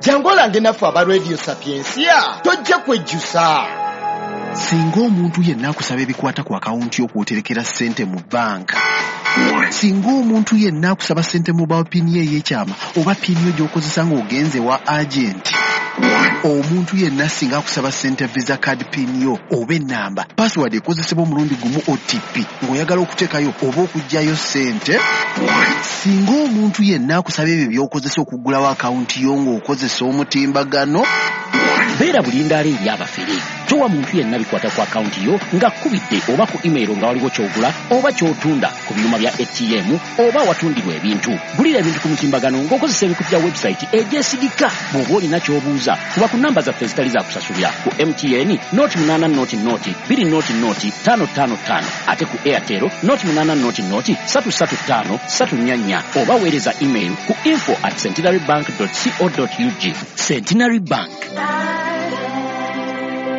Jangu olange naffe aba Radio Sapientia, tojja kwejjusa. Singa omuntu yenna akusaba ebikwata ku akawunti y'okwoterekera ssente mu bbanka, singa omuntu yenna akusaba ssente mobile PIN ye ey'ekyama oba PIN yo gy'okozesa ng'ogenze wa agenti, omuntu yenna singa akusaba ssente Visa card PIN yo oba ennamba, password ekozesebwa omulundi gumu OTP ng'oyagala okuteekayo oba okuggyayo ssente, singa omuntu yenna akusaba ebyo by'okozesa okuggulawo akawunti yo ng'okozesa omutimbagano, beera bulindaala eri abafere. Towa muntu yenna bikwata ku akawunti yo ng'akkubidde oba ku email nga waliwo ky'ogula oba ky'otunda ku byuma bya ATM oba awatundirwa ebintu. Gulira ebintu ku mutimbagano ng'okozesa ebikutu bya website egyesigika. Bw'oba olina ky'obuuza, kuba ku namba zaffe ezitali za kusasulira ku MTN 080 020 555, ate ku Airtel 080 335 344, oba weereza email ku info@centenarybank.co.ug. Centenary Bank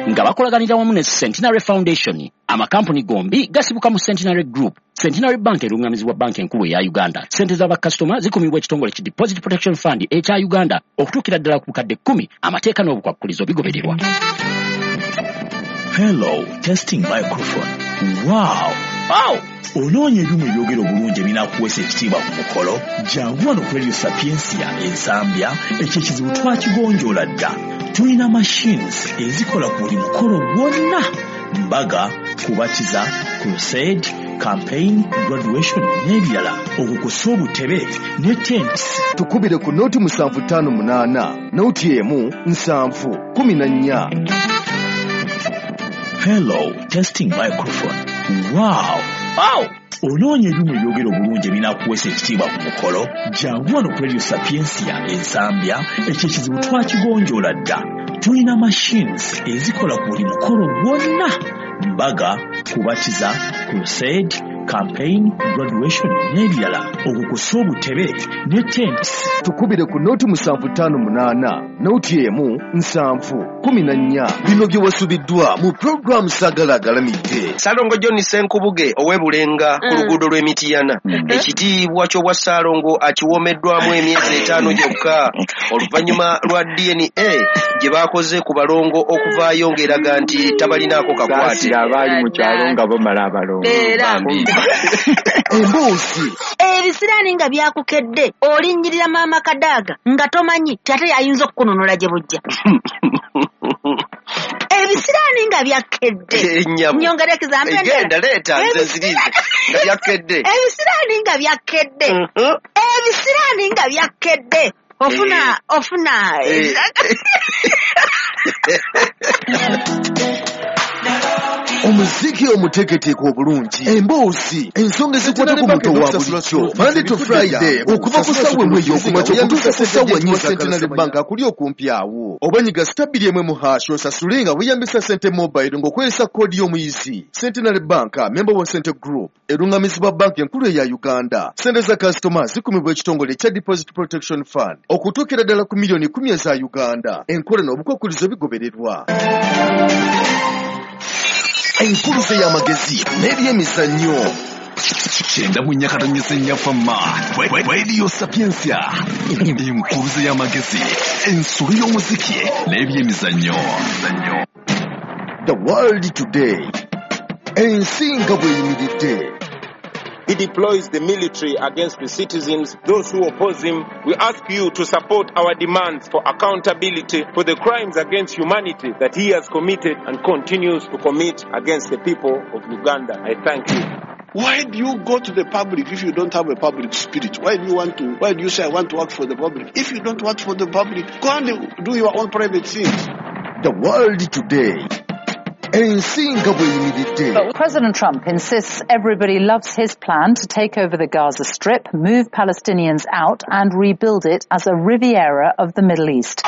nga bakolaganira wamu ne Centenary Foundation. Amakampuni gombi gasibuka mu Centenary Group. Centenary Bank erungamizibwa Banka Enkulu eya Uganda. Sente z'abakasitoma zikumibwa ekitongole ki Deposit Protection Fund ekya Uganda okutuukira ddala ku bukadde 10. Amateeka n'obukwakkulizo bigobererwa. Hello, testing microphone. Wow! Wow! Onoonya ebyuma ebyogera obulungi ebinaakuweesa ekitiibwa ku mukolo? Jangu wano ku Radio Sapientia Ensambya, ekyo ekizibu twakigonjoola dda. Tulina machines ezikola ku buli mukolo gwonna: mbaga, kubatiza, crusade, campaign, graduation n'ebirala, okukusa obutebe ne tents. Tukubire ku 0758 01 7 14. Hello, testing microphone. Wow! Wow! Onoonya ebyuma ebyogera obulungi ebinaakuweesa ekitiibwa ku mukolo? Jangu wano ku Radio Sapientia Ensambya, ekyo ekizibu twakigonjoola dda. Tulina machines ezikola ku buli mukolo gwonna: mbaga, kubatiza, crusade, campaign, graduation n'ebirala, okukusa obutebe ne tents. Tukubire ku 0758 01 7 14. Bino bye wasubiddwa mu pulogulaamu Saagala Agalamidde. Ssalongo John Ssenkubuge ow'e Bulenga ku luguudo lw'e Mityana, ekitiibwa ky'obwa Ssaalongo akiwoomeddwamu emyezi 5 gyokka oluvannyuma lwa DNA gye baakoze ku balongo okuvaayo ng'eraga nti tabalinaako kakwate. Saasira abaali mu kyalo nga bamala abalongo. Bambi. Emboozi. Ebisiraani nga byakukedde, olinnyirira maama Kadaaga nga tomanyi ti ate y'ayinza okukununula gye bujja. Ebisiraani nga byakkedde. Ennyabo. Nyongera example endala. Genda leeta nze nzirize nga byakkedde. Ebisiraani nga byakkedde. Ebisiraani nga byakkedde. Ofuna, ofuna. Omuziki omuteeketeeke obulungi, emboozi, ensonga ezikwata ku muntu owa bulijjo. Monday to Friday okuva ku ssaawa 1 ey'okumakya okutuuka ku ssaawa 4. Centenary Bank akuli okumpi awo. Oba nyiga *1 # osasule nga weeyambisa Sente Mobile ng'okozesa koodi y'omuyizi. Centenary Bank, member wa Sente Group, erungamizibwa Banka Enkulu eya Uganda. Sente za kasitoma zikumibwa ekitongole ekya Deposit Protection Fund okutuukira ddala ku miliyoni 10 eza Uganda. Enkola n'obukwakkulizo bigobererwa. Enkuluze y'amagezi n'ebyemizannyo. 94.4 Fama Radio Sapientia, enkuluze y'amagezi, ensolo y'omuziki n'ebyemizannyo. The World Today, ensi nga bw'eyimiridde. He deploys the military against the citizens, those who oppose him. We ask you to support our demands for accountability for the crimes against humanity that he has committed and continues to commit against the people of Uganda. I thank you. Why do you go to the public if you don't have a public spirit? Why do you want to? Why do you say I want to work for the public? If you don't work for the public, go and do your own private things. The World Today, ensi nga bw'eyimiridde. President Trump insists everybody loves his plan to take over the Gaza Strip, move Palestinians out and rebuild it as a Riviera of the Middle East.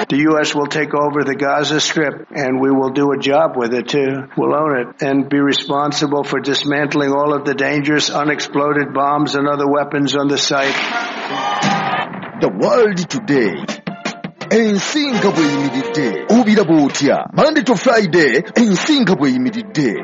The U.S. will take over the Gaza Strip, and we will do a job with it, too. We'll own it and be responsible for dismantling all of the dangerous unexploded bombs and other weapons on the site. The World Today, ensi nga bw'eyimiridde. Obiraba otya? Monday to Friday, ensi nga bw'eyimiridde.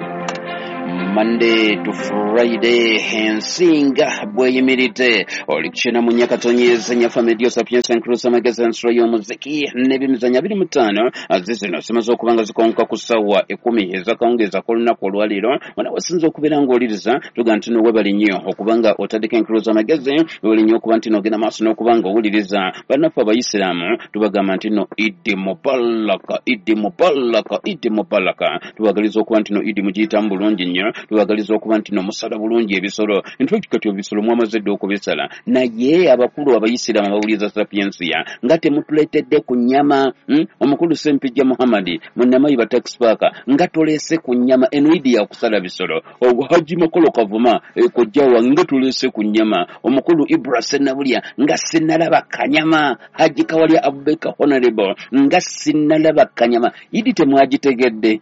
Monday to Friday, ensinga bweyimiridde oli kukyena mu nyakatonyeza nyafa medio sapiensa nkrusa magezi ensolo y'omuziki n'ebyemizannyo 25 zizino zimaze okuba nga zikonka ku ssaawa 10 ez'akawungeezi ak'olunaku olwaleero. Wano wasinza okubeera ng'oliriza tuga nti no webali nnyo okuba nga otaddeko enkuluza amagezi, webali nnyo okuba nti n'ogenda maaso n'okuba nga owuliriza. Bannaffe abayisiraamu tubagamba nti no Idi Mubaraka, Idi Mubaraka, Idi Mubaraka. Tubagaliza okuba nti no Idi mugiyitamu bulungi nnyo, tubagaliza okuba nti no musala bulungi ebisolo. In fact kati ebisolo mwamaze dda okubisala, naye abakulu abayisiraamu abawuliriza Sapiensia nga temutuleetedde ku nnyama. Omukulu Ssempijja Muhammad munnamayiba tax park nga toleese ku nnyama, eno Idi ya kusala bisolo. Haji Makolo Kavuma kojja wange nga toleese ku nnyama. Omukulu Ibra Sennabulya nga sinnalaba kanyama. Haji Kawalya Abubakar Honorable nga sinnalaba kanyama. Idi temwagitegedde.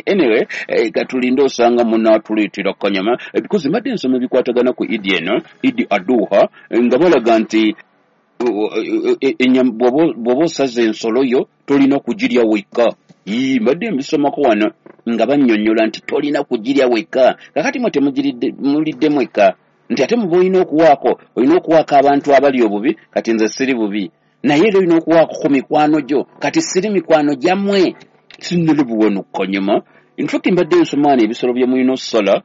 Anyway, katulinde osanga munaatuleetera kanyama, because mbadde nsoma ebikwatagana ku Idi eno, Idi Aduha, nga balaga nti bw'oba osaze ensolo yo tolina kugirya wekka. Mbadde mbisomako wano nga bannyonnyola nti tolina kugirya wekka. Kakati mwe temulidde mwekka, nti ate muba olina okuwaako, olina okuwaako abantu abali obubi. Kati nze siri bubi, naye era olina okuwaako ku mikwano gyo. Kati siri mikwano gyammwe, sinnalaba wano kanyama. In fact mbadde nsoma wano ebisolo bye mulina okusala,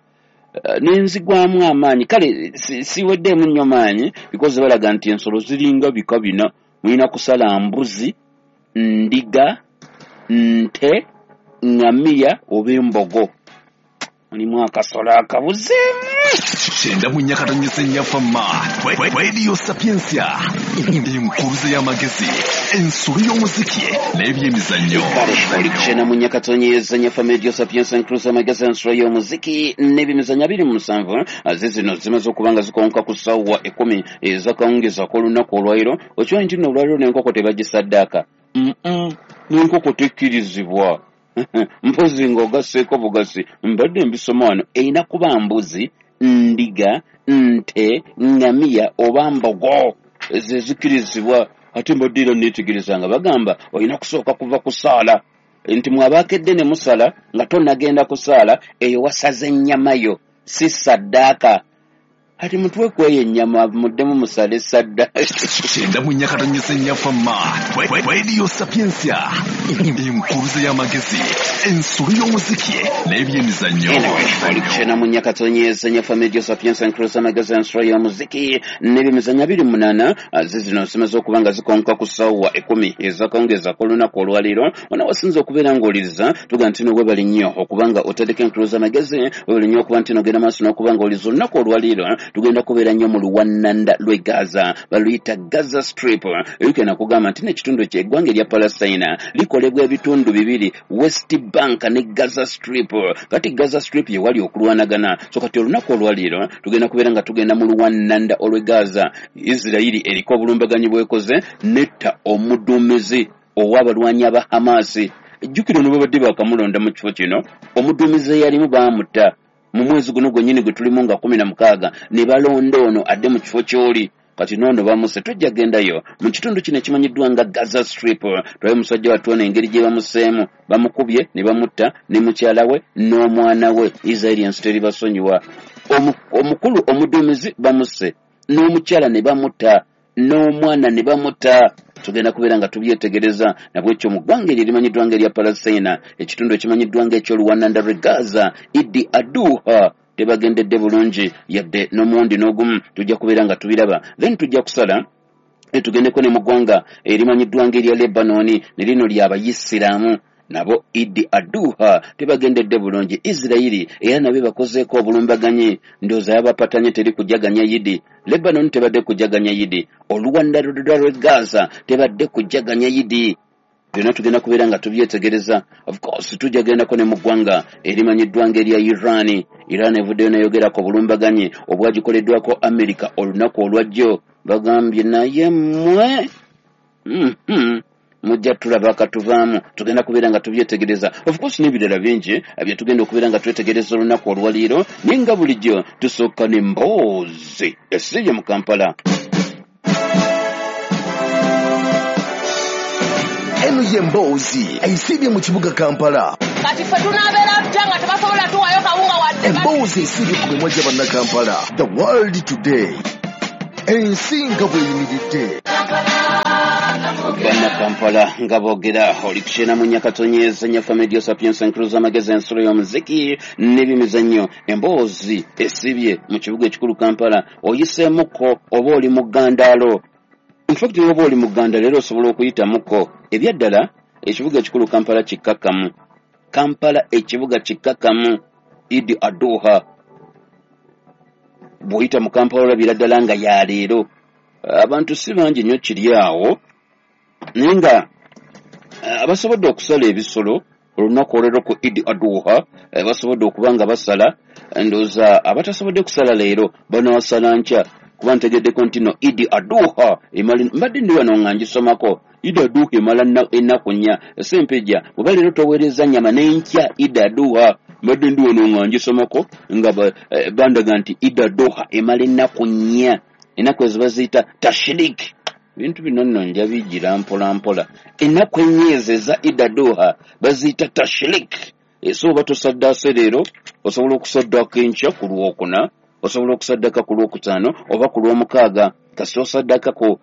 nenzigwamu amaanyi. Kale siweddeemu nnyo maanyi, because balaga nti ensolo ziringa bika bina. Mulina kusala mbuzi, ndiga, nte, ŋŋamiya oba embogo. Mulimu akasolo akabuzeemu. 94 nyafa ma Radio Sapiensia, enkuluze y'amagezi, ensolo y'omuziki n'ebyemizannyo. Kale oli 94 nyafa Radio Sapiensia, enkuluze y'amagezi, ensolo y'omuziki n'ebyemizannyo 27 zizino zimaze okuba nga zikonka ku ssaawa 10 ez'akawungeezi ak'olunaku olwaleero. Okimanyi nti nno olwaleero n'enkoko tebagisaddaaka? N'enkoko tekkirizibwa, mpozi ng'ogasseeko bugasi. Mbadde mbisoma wano, erina kuba mbuzi, ndiga, nte, ŋŋamiya oba mbogo, ezo ezikkirizibwa. Ate mbadde era neetegereza nga bagamba olina kusooka kuva kusaala, nti mwabaakedde ne musala nga tonnagenda kusaala, eyo wasaze ennyama yo, si saddaaka. Ati mutwe kweyo ennyama muddemu musale saddaaka. 94 nyafa ma Radio Sapiensia, enkuluze y'amagezi, ensolo y'omuziki n'ebyemizannyo. Oli 94 nyafa Radio Sapiensia, enkuluze y'amagezi, ensolo y'omuziki n'ebyemizannyo 28 zizino zimaze okuba nga zikonka ku ssaawa 10 ez'akawungeezi ak'olunaku olwaleero. Wano wasinza okubeera ng'oliriza tuga nti no webali nnyo okuba nga otaddeko enkuluze y'amagezi, webali nnyo okuba nti n'ogenda maaso n'okuba ng'oliriza. Olunaku olwaleero tugenda kubeera nnyo mu luwannanda lw'e Gaza, baluyita Gaza Strip. Ebigenda kugamba nti n'ekitundu ky'eggwanga erya Palestina likolebwa ebitundu bibiri, West Bank ne Gaza Strip. Kati Gaza Strip ye wali okulwanagana. So kati olunaku olwaleero tugenda kubeera nga tugenda mu luwannanda olw'e Gaza. Isirayiri eriko obulumbaganyi bwekoze netta omuduumizi ow'abalwanyi aba Hamasi. Jjukira ono babadde baakamulonda mu kifo kino, omuduumizi eyalimu baamutta mu mwezi guno gwennyini gwe tulimu nga 16, ne balonda ono adde mu kifo ky'oli. Kati noono bamuse. Tujja gendayo mu kitundu kino ekimanyiddwa nga Gaza Strip, tulabe musajja wattu ono engeri gye bamuseemu. Bamukubye ne bamutta ne mukyala we n'omwana we. Isirayiri ensi teribasonyiwa. Omukulu omuduumizi bamusse, n'omukyala ne bamutta, n'omwana ne bamutta. Tugenda kubeera nga tubyetegereza. Nabwekyo mu ggwanga eryo erimanyiddwa nga erya Palestina, ekitundu ekimanyiddwa nga eky'oluwananda lw'e Gaza, Idi Aduha tebagendedde bulungi yadde n'omuwundi n'ogumu. Tujja kubeera nga tubiraba. Then tujja kusala tugendeko ne mu ggwanga erimanyiddwa nga erya Lebanoni, ne lino ly'abayisiraamu, nabo Idi Aduha tebagendedde bulungi. Isirayiri era nabo bakozeeko obulumbaganyi, ndowooza yabapatanye, teri kujaganya Idi. Lebanon tebadde kujaganya Idi, oluwanda lw'e Gaza tebadde kujaganya Idi. Byonna tugenda kubeera nga tubyetegereza. Of course tujja gendako ne mu ggwanga erimanyiddwa nga erya Iran. Iran evuddeyo neyogerako obulumbaganyi obwagikoleddwako Amerika olunaku olwajjo. Bagambye naye mmwe mujja tulaba akatuvaamu. Tugenda kubeera nga tubyetegereza. Of course n'ebirala bingi bye tugenda okubeera nga twetegereza olunaku olwaleero, naye nga bulijjo tusooka n'emboozi esibye mu Kampala. Eno ye mboozi esibye mu kibuga Kampala. Kati ffe tunaabeera tutya nga tebasobola tuwayo kawunga wadde? Emboozi esibye ku mimwa gya Bannakampala. The World Today, ensi nga bw'eyimiridde. Bannakampala nga boogera. Oli kukyena mu Nyakatonyeza Nyaffe Media Sapiens, enkulu z'amagezi, ensulo y'omuziki n'ebyemizannyo. Emboozi esibye mu kibuga ekikulu Kampala. Oyiseemuko oba oli mu ggandaalo? Infact, oba oli mu gganda leero osobola okuyitamuko. Ebyaddala ekibuga ekikulu Kampala kikkakkamu. Kampala ekibuga kikkakkamu. Idi Aduha, bw'oyita mu Kampala olabira ddala nga yaleero abantu si bangi nnyo kiri awo, naye nga abasobodde okusala ebisolo olunaku olwero ku Idi Aduha basobodde okuba nga basala. Ndowooza abatasobodde kusala leero banaasala nkya, kuba ntegeddeko nti no Idi Aduha emala, mbadde ndi wano nga ngisomako, Idi Aduha emala ennaku 4. Sempejja, bweba leero toweereza nnyama, n'enkya Idi Aduha. Mbadde ndi wano nga ngisomako nga bandaga nti Idi Aduha emala ennaku 4. Ennaku ezo baziyita tashirik. Bintu bino nno nja bigira mpola mpola. Ennaku 4 ezo eza Idi Aduha baziyita tashirik. So oba tosaddaase leero, osobola okusaddaaka enkya ku Lwokuna, osobola okusaddaka ku Lwokutaano oba ku Lwomukaaga, kasita osaddaka ku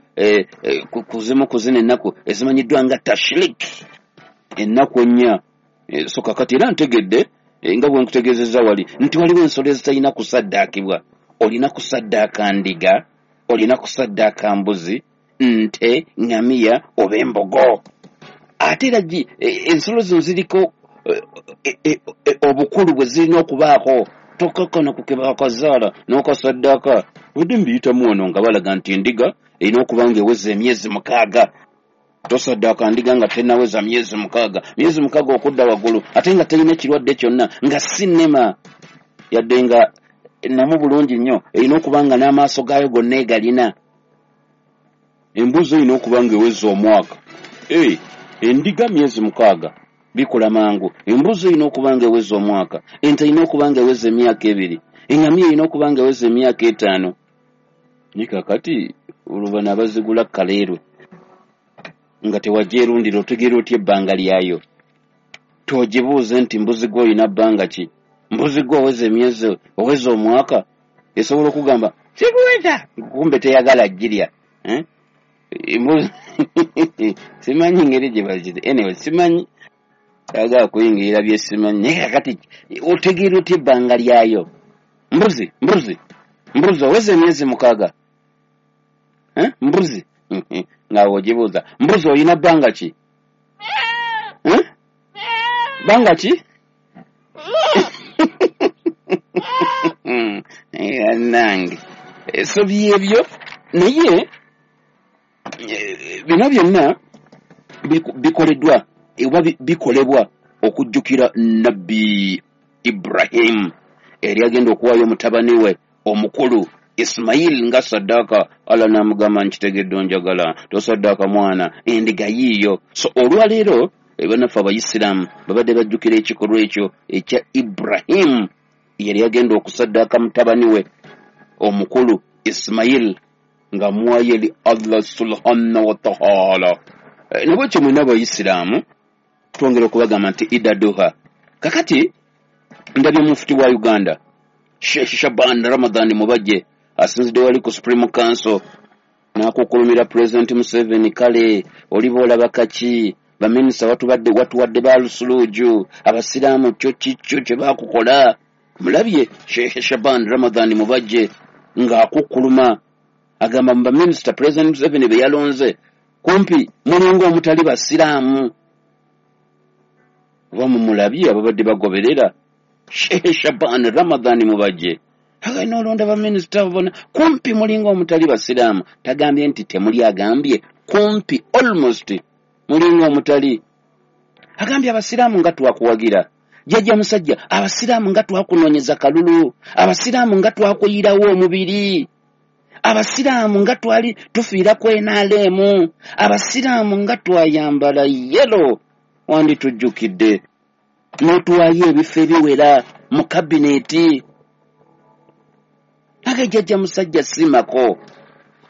zimu ku zino ennaku ezimanyiddwa nga tashirik, ennaku 4. So kakati era ntegedde nga bwe nkutegeezezza wali nti waliwo ensolo ezitalina kusaddaakibwa. Olina kusaddaaka ndiga, olina kusaddaaka mbuzi, nte, ŋŋamiya oba embogo. Ate era ensolo zino ziriko obukulu bwe zirina okubaako. Tokakkana ku kebakazaala n'okasaddaaka. Budde mbiyitamu wano nga balaga nti endiga erina okuba ng'eweza emyezi 6. Tosaddaaka ndiga nga tennaweza myezi 6. Myezi 6 okudda waggulu, ate nga terina kirwadde kyonna, nga si nnema yadde nga namu bulungi nnyo, erina okuba nga n'amaaso gaayo gonna egalina. Embuzi erina okuba ng'eweza omwaka. Endiga myezi 6 bikula mangu. Embuzi erina okuba ng'eweza omwaka. Ente erina okuba ng'eweza emyaka 2. Eŋŋamiya erina okuba ng'eweza emyaka 5. Naye kaakati olwo bano abazigula kaleerwe nga tewagyerundira, otegeera otya ebbanga lyayo? Togibuuze nti mbuzi gwe olina bbanga ki? Mbuzi gwe oweza emyezi, oweza omwaka? Esobola okugamba sikuweza, kumbe teyagala girya. Simanyi ngeri gye bagiri. Anyway, simanyi, ayagala kuyingirira bye simanyi. Naye kakati otegeera otya ebbanga lyayo? Mbuzi, mbuzi, mbuzi oweza emyezi 6? Mbuzi nga ogibuuza, mbuzi olina bbanga ki? Bbanga ki? Nange so byebyo. Naye bino byonna bikoleddwa oba bikolebwa okujjukira Nabbi Ibrahimu eri agenda okuwaayo mutabani we omukulu Ismail nga saddaaka. Allah n'amugamba, nkitegedde onjagala, tosaddaaka mwana, endiga yiiyo. So olwaleero bannaffe abayisiraamu babadde bajjukira ekikolwa ekyo ekya Ibrahimu yali agenda okusaddaaka mutabani we omukulu Ismail nga muwayo eri Allah subhanahu wa taala. Nabwekyo mwena abayisiraamu twongera okubagamba nti Ida Duha. Kakati ndabye mufuti wa Uganda Sheikh Shaban Ramadhan Mubajje asinzidde wali ku Supreme Council n'akukulumira President Museveni. Kale oliba olaba kaki baminisita watuwadde balusuluuju abasiraamu, kyo kikyo kye bakukola. Mulabye Sheikh Shaban Ramadhan Mubajje ng'akukkuluma, agamba mu baminisita President Museveni be yalonze kumpi mulinga omutali basiraamu. Oba mumulabye ababadde bagoberera Sheikh Shaban Ramadhan Mubajje, agenda olonda baminisita bona kumpi mulinga omutali basiraamu. Tagambye nti temuli, agambye kumpi, almost mulinga omutali. Agambye abasiraamu nga twakuwagira jjajja musajja, abasiraamu nga twakunoonyeza kalulu, abasiraamu nga twakuyirawo omubiri, abasiraamu nga twali tufiira ku NRM, abasiraamu nga twayambala yellow, wanditujjukidde n'otuwaayo ebifo ebiwera mu kabineeti. Age jjajja musajja simako.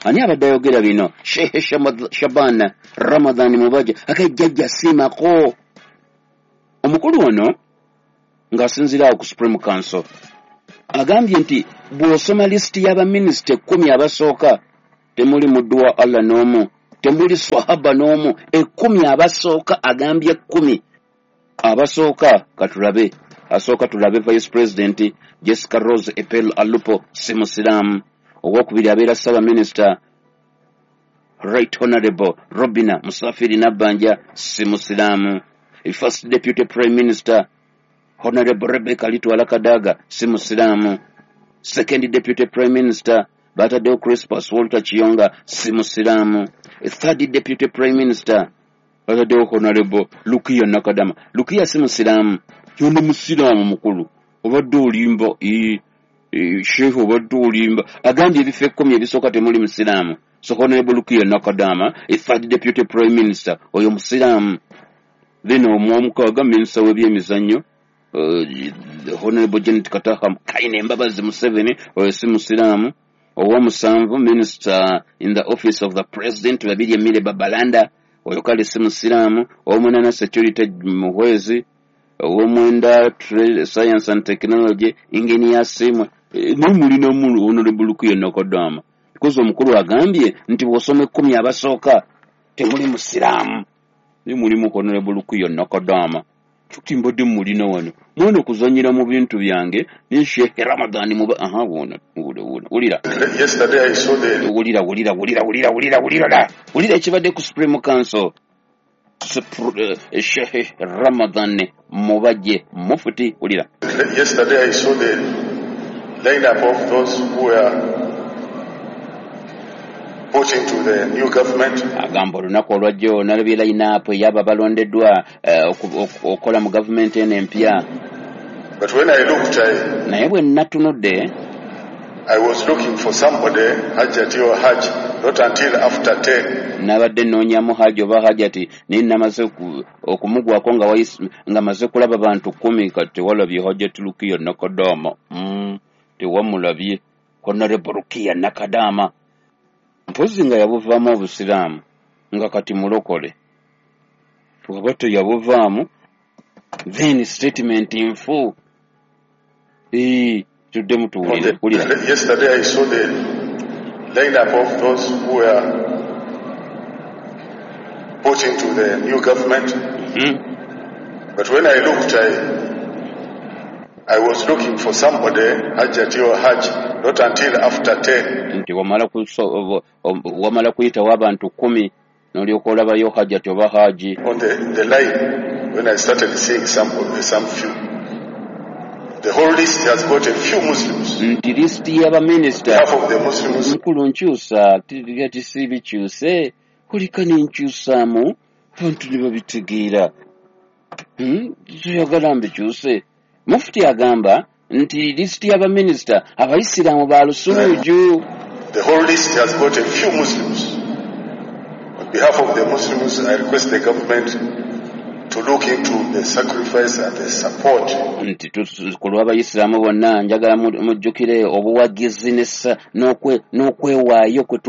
Ani abadde ayogera bino? Sheikh Shaban Ramadhan Mubajje. Age jjajja simako. Omukulu ono ng'asinziira awo ku Supreme Council agambye nti bw'osoma lisiti y'abaminisita 10 abasooka temuli muddu wa Allah n'omu, temuli swahaba n'omu. 10 abasooka, agambye 10 abasooka. Katulabe asooka, tulabe Vice President Jessica Rose Epel Alupo, si musiraamu. Owokubiri abeera Ssaabaminisita Right Honorable Robina Musafiri Nabbanja, si musiraamu. First Deputy Prime Minister Honorable Rebecca Litwala Kadaga, si musiraamu. Second Deputy Prime Minister bataddewo Crispus Walter Kiyonga, si musiraamu. Third Deputy Prime Minister bataddewo Honorable Lukiya Nakadama. Lukiya si musiraamu. Yono musiraamu mukulu, obadde olimba. Sheikh obadde olimba. Agambye ebifo 10 ebisooka temuli musiraamu. So Honorable Lukiya Nakadama, Third Deputy Prime Minister, oyo musiraamu. Then omwomukaaga minisita w'ebyemizannyo Honorable Janet Kataha Kaine Mbabazi Museveni, oyo si musiraamu. Owomusanvu Minister in the Office of the President Babirye Mire Babalanda, oyo kale si musiraamu. Owomunaana Security Muhwezi. Owomwenda Science and Technology Engineer Simwe. Naye mulinamu Honorable Lukiya Nakadama, because omukulu agambye nti bw'osoma 10 abasooka temuli musiraamu. Naye mulimu Honorable Lukiya Nakadama. Kyokka mbadde mulina wano mwana okuzannyira mu bintu byange ne Sheikh Ramadhan muba. Aha, wona wulira. Yesterday I saw the wulira wulira wulira wulira wulira wulira wulira ekibadde ku Supreme Council. Sheikh Ramadhan Mubajje Mufti, wulira. Yesterday I saw the lineup of those who were put into the new government. Agamba olunaku olwajjo nalabye line-up ey'abo balondeddwa okukola mu gavumenti eno empya. But when I looked, naye bwe natunudde, I was looking for somebody, Hajjati or Hajj, not until after 10. Nabadde nnoonyamu Hajji oba Hajjati, naye namaze okumugwako nga maze kulaba bantu 10. Kati tewalabye Hajjati Lukiya Nakadama. Tewamulabye Honorable Lukiya Nakadama. Mpozi nga yabuvaamu obusiraamu nga kati mulokole. Bw'aba teyabuvaamu, then statement nfu. Tuddemu tuwulire. Wulira. Yesterday I saw the lineup of those who were put into the new government. But when I looked, I was looking for somebody, Hajjati or Hajj, not until after 10. Nti wamala kuyitawo abantu 10 n'olyoka olabayo Hajjati oba Haji. On the line, when I started seeing some few. The whole list has got a few Muslims. Nti lisiti y'abaminisita Half of the Muslims. Mukulu nkyusa, tisi bikyuse, kulika nenkyusaamu, abantu ne babitegeera. Toyagala mbikyuse. Mufti agamba nti lisiti y'abaminisita abayisiraamu ba lusuluju. The whole list has got a few Muslims. On behalf of the Muslims, I request the government to look into the sacrifice and the support. Nti ku lw'abayisiraamu bonna njagala mujjukire obuwagizi n'okwewaayo kwe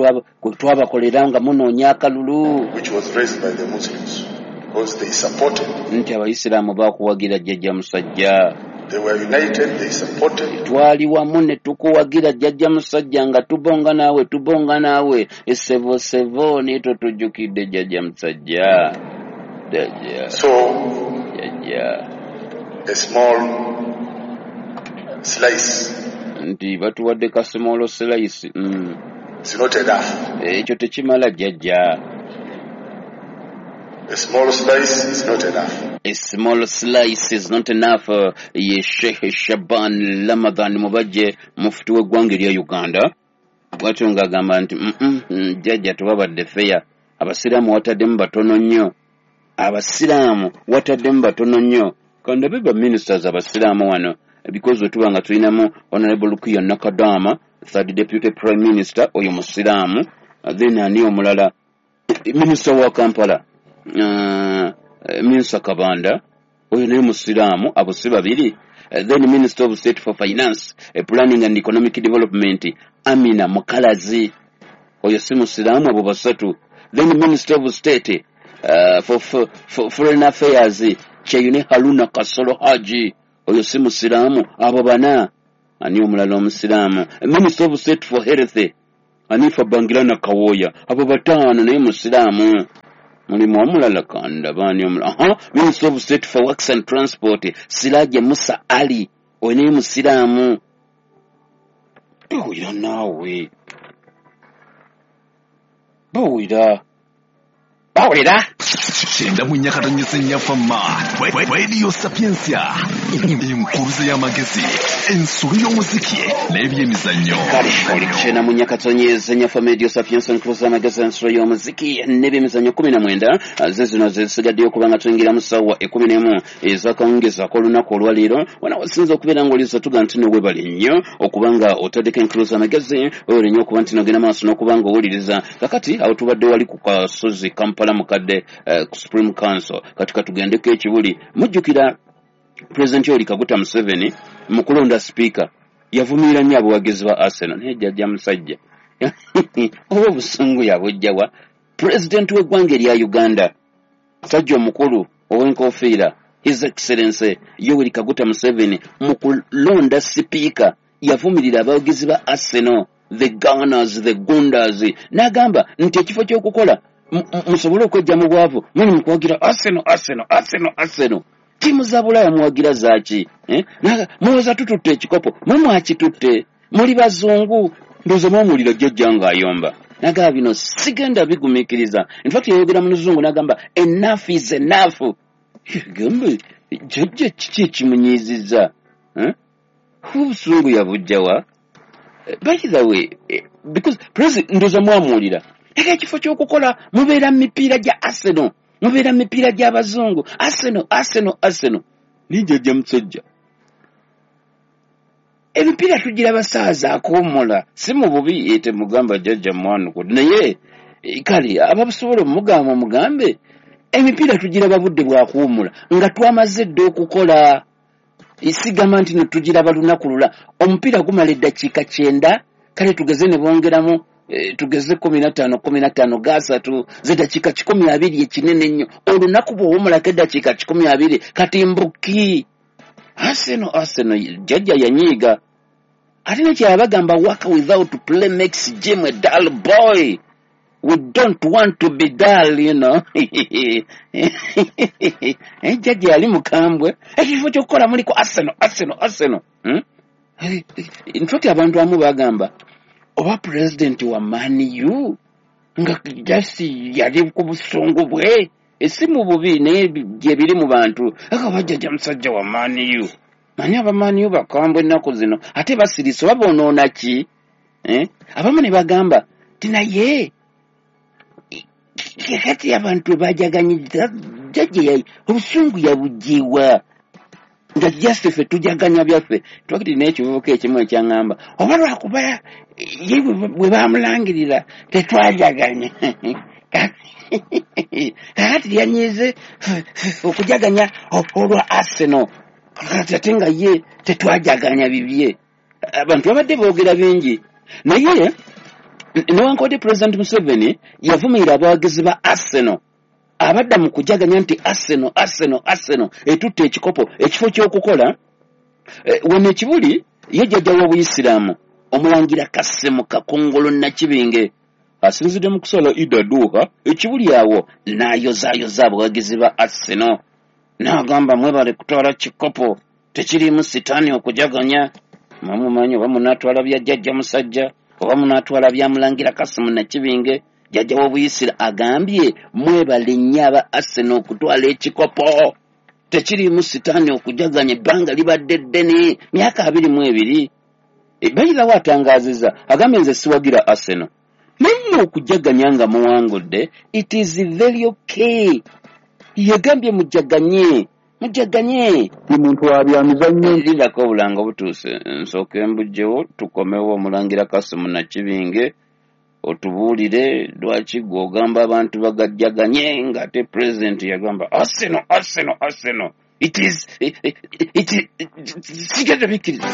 twabakolera nga munoonya akalulu. Which was raised by the Muslims because they supported. Nti abayisiraamu baakuwagira jjajja musajja. They were united, they supported. Twali wamu ne tukuwagira jjajja musajja nga tubonga naawe sevo sevo naye totujjukidde jjajja musajja. So, a small slice. Nti batuwadde ka small slice. It's not enough. Ekyo tekimala jjajja. A small slice is not enough. A small slice is not enough. Ye Sheikh Shaban Ramadhan Mubajje, mufti w'eggwanga erya Uganda. Bw'atyo ng'agamba nti jjajja tewabadde fair. Abasiraamu wataddemu batono nnyo. Abasiraamu wataddemu batono nnyo. Kandabe ba ministers abasiraamu wano, because wetuba nga tulinamu Honorable Lukiya Nakadama, Third Deputy Prime Minister, oyo musiraamu. Then ani omulala, Minister wa Kampala, Minister Kabanda, oyo naye musiraamu, abo si babiri. Then Minister of State for Finance, Planning and Economic Development, Amina Mukalazi, oyo si musiraamu, abo basatu. Then Minister of State for Foreign Affairs, Kyeyune Haruna Kasolo Haji, oyo si musiraamu. Abo bana. Ani omulala omusiraamu? Minister of State for Health Anifa Bangirana Kawoya, abo bataano, naye musiraamu. Mulimu omulala kandaba ani omulala? Aha, Minister of State for Works and Transport Siraje Musa Ali, oyo naye musiraamu. Bawulira naawe, bawulira, bawulira. 94.4 Fama Radio Sapientia, enkuruze y'amagezi, ensolo y'omuziki n'ebyemizannyo. Kale oli 94.4 Fama Radio Sapientia, enkuruze y'amagezi, ensolo y'omuziki n'ebyemizannyo. 19 ze zino zesigaddeyo okuba nga tuyingira mu ssaawa 11 ez'akawungeezi ak'olunaku olwaleero. Wana wasinza okubeera ng'oliza tuga nti nowebale nnyo okuba nga otaddeko enkuruze y'amagezi, webale nnyo okuba nti nogenda maaso n'okuba nga owuliriza. Kakati awo tubadde wali ku kasozi Kampala mukadde, ku Supreme Council. Kati katugendeko ekibuli. Mujjukira Pulezidenti Yoweri Kaguta Museveni mu kulonda sipiika yavumirira nnyo abawagizi ba Arsenal, naye jjajja musajja oba obusungu yabujjawa? Pulezidenti w'eggwanga erya Uganda, musajja omukulu ow'enkofiira, His Excellency Yoweri Kaguta Museveni, mu kulonda sipiika yavumirira abawagizi ba Arsenal, the Gunners, the Gunders, n'agamba nti ekifo ky'okukola musobole okwejja mu bwavu muli mu kuwagira Arsenal, Arsenal, Arsenal, Arsenal. Ttiimu za Bulaaya muwagira zaaki? Mulowooza tututte ekikopo? Mwe mwakitutte, muli bazungu. Ndowooza mwamuwulira jjajja ng'ayomba, n'agamba bino sigenda bigumiikiriza. In fact yayogera mu luzungu n'agamba enough is enough. Gambe jjajja kiki ekimunyiizizza? Obusungu yabujjawa? By the way, because president, ndowooza mwamuwulira, naye ekifo ky'okukola mubeera mu mipiira gya Arsenal, mubeera mu mipiira gy'abazungu, Arsenal, Arsenal, Arsenal. Naye jjajja musajja, emipiira tugira basaaza akuwummula, si mu bubi temugamba jjajja mwanuku, naye kale abasobola omugamba mugambe emipiira tugiraba budde bwakuwummula nga twamaze dda okukola. Sigamba nti no tugiraba lunaku lula, omupiira gumala eddakiika 90, kale tugeze ne bongeramu tugeze 15 15 gasatu z'eddakiika 120, ekinene ennyo. Olunaku bw'owummulako eddakiika 120, kati mbuki Arsenal, Arsenal. Jjajja yanyiiga. Ate nekyabagamba, work without play makes Jim a dull boy. We don't want to be dull, you know. Jjajja yali mukambwe. Ekifo ky'okukola muliko Arsenal, Arsenal, Arsenal. In fact abantu abamu bagamba oba pulezidenti wa Man U nga just yali ku busungu bwe, si mu bubi, naye gye biri mu bantu. Aka jjajja musajja wa Man U, manyi aba Man U bakambwe ennaku zino, ate basirise oba bonoona ki? Abamu ne bagamba ti naye kati abantu bajaganyiriza jjajja obusungu yabugiwa nga just ffe tujaganya byaffe. Twakiti n'ekivubuka ekimu ekyaŋŋamba oba lwakuba ye bwe bamulangirira tetwajaganya, kakati yanyiize okujaganya olwa Arsenal, kakati ate nga ye tetwajaganya bibye. Abantu babadde boogera bingi, naye newankubadde President Museveni yavumirira abawagizi ba Arsenal abadda mu kujaganya nti Arsenal, Arsenal, Arsenal etutte ekikopo, ekifo ky'okukola. Wano ekibuli ye jjajja w'obuyisiraamu omulangira Kassim Kakungulu Nakibinge asinzidde mu kusala Eid Adhuha ekibuli awo n'ayozaayoza abawagizi ba Arsenal, n'agamba mwebale kutwala kikopo, tekiriimu sitaani okujaganya. Mwamumanyi oba munaatwala bya jjajja musajja oba munaatwala bya mulangira Kassim Nakibinge. Jjajja w'obuyisira agambye mwebale nnyo aba Arsenal okutwala ekikopo, tekiriimu sitaani okujaganya, ebbanga libadde ddene, myaka 22. Bayirawo atangaazizza, agambye nze siwagira Arsenal, naye mmwe okujaganya nga muwangudde it is very okay. Yagambye mujaganye, mujaganye. Ndi muntu wa bya mizannyo. Lindako obulango butuuse nsooke mbugyewo tukomewo. Omulangira Kassim Nakibinge otubuulire lwaki gwe ogamba abantu bagajjaganye ng'ate pulezidenti yagamba Arsenal, Arsenal, Arsenal. It is sigenda bikkiriza.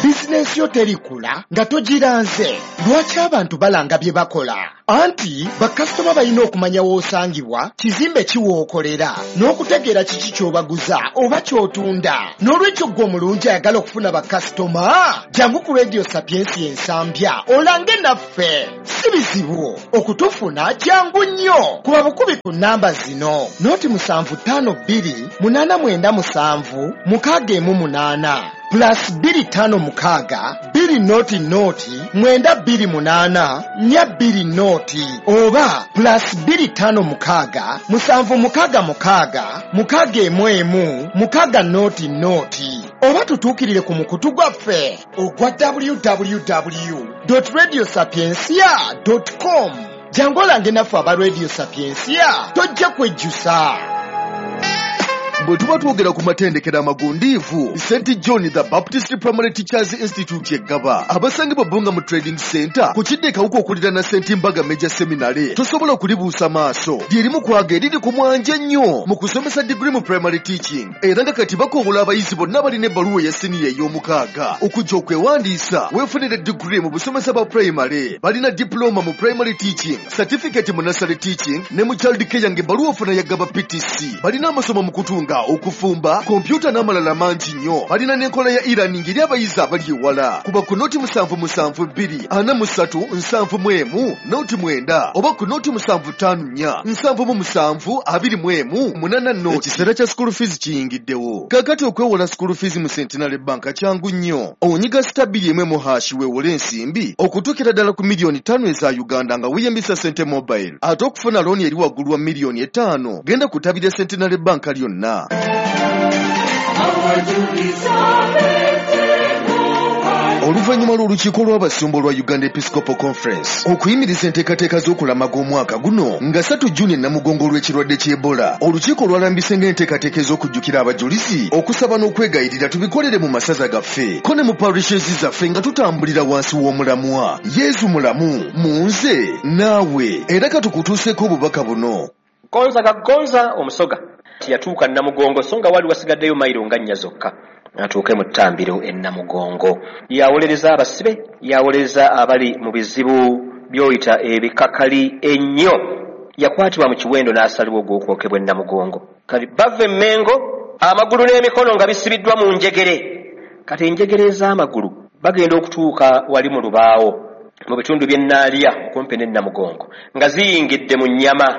Bizinensi yo terikula nga togiranze. Lwaki abantu balanga bye bakola? Anti bakasitoma balina okumanya w'osangibwa, kizimbe ki w'okolera, n'okutegeera kiki ky'obaguza oba ky'otunda. N'olwekyo ggwe omulungi ayagala okufuna bakasitoma, jangu ku Radio Sapiensia Ensambya olange naffe. Si bizibu okutufuna, jangu nnyo. Kuba bukubi ku nnamba zino: 075 897 618 plus 256 2 0 0 928 420 oba plus 256 766 611 6 0 oba tutuukirire ku mukutu gwaffe ogwa www.radiosapiencia.com. Jangu olange naffe aba Radio Sapiencia, tojja kwejjusa. Bwe tuba twogera ku matendekero amagundiivu, St John the Baptist Primary Teachers Institute eggaba abasangibwa Bbunga mu Trading Center ku kidde Kawuka okuliraana St Mbaga Major Seminary, tosobola kulibuusa maaso. Lyerimu kwaga eriri ku mwanje ennyo mu kusomesa digiri mu primary teaching, era nga kati bakowola abayizi bonna balina ebbaluwa eya siniya ey'omukaaga okujja okwewandiisa weefunire digiri mu busomesa bwa primary. Balina diploma mu primary teaching, certificate mu nursery teaching ne mu child care ng'ebbaluwa ofuna ya Gaba PTC. Balina amasomo mu kutunga, okufumba, kompyuta n'amalala mangi nnyo. Balina n'enkola ya e-learning eri abayizi abali ewala. Kuba ku 077 2 43 71 09 oba ku 075 4 77 21 8 0. Ekiseera kya school fees kiyingiddewo. Kaakati okwewola school fees mu Centenary Bank kyangu nnyo. Onyiga *2 mu hash weewole ensimbi okutuukira ddala ku miliyoni 5 eza Uganda nga weeyambisa Sente Mobile. Ate okufuna looni eri waggulu wa miliyoni 5, genda ku ttabi lya Centenary Bank lyonna. Oluvannyuma lw'olukiiko lw'abasumba olwa Uganda Episcopal Conference okuyimiriza enteekateeka z'okulamaga omwaka guno nga 3 Juni e Namugongo olw'ekirwadde ky'Ebola, olukiiko lwalambise ng'enteekateeka ez'okujjukira abajulizi, okusaba n'okwegayirira tubikolere mu masaza gaffe ko ne mu parishes zaffe nga tutambulira wansi w'omulamwa Yezu mulamu mu nze naawe. Era katukutuuseeko obubaka buno. Gonza gagonza omusoga tiyatuuka Namugongo, so nga wali wasigaddeyo mayiro nga 4 zokka atuuke mu ttambiro e Namugongo. Yawolereza abasibe, yawolereza abali mu bizibu by'oyita ebikakali ennyo. Yakwatibwa mu kiwendo n'asalibwa ogw'okwokebwa e Namugongo. Kati bava e Mmengo, amagulu n'emikono nga bisibiddwa mu njegere. Kati enjegere ez'amagulu bagenda okutuuka wali mu lubaawo mu bitundu by'e Naalya okumpi n'e Namugongo nga ziyingidde mu nnyama,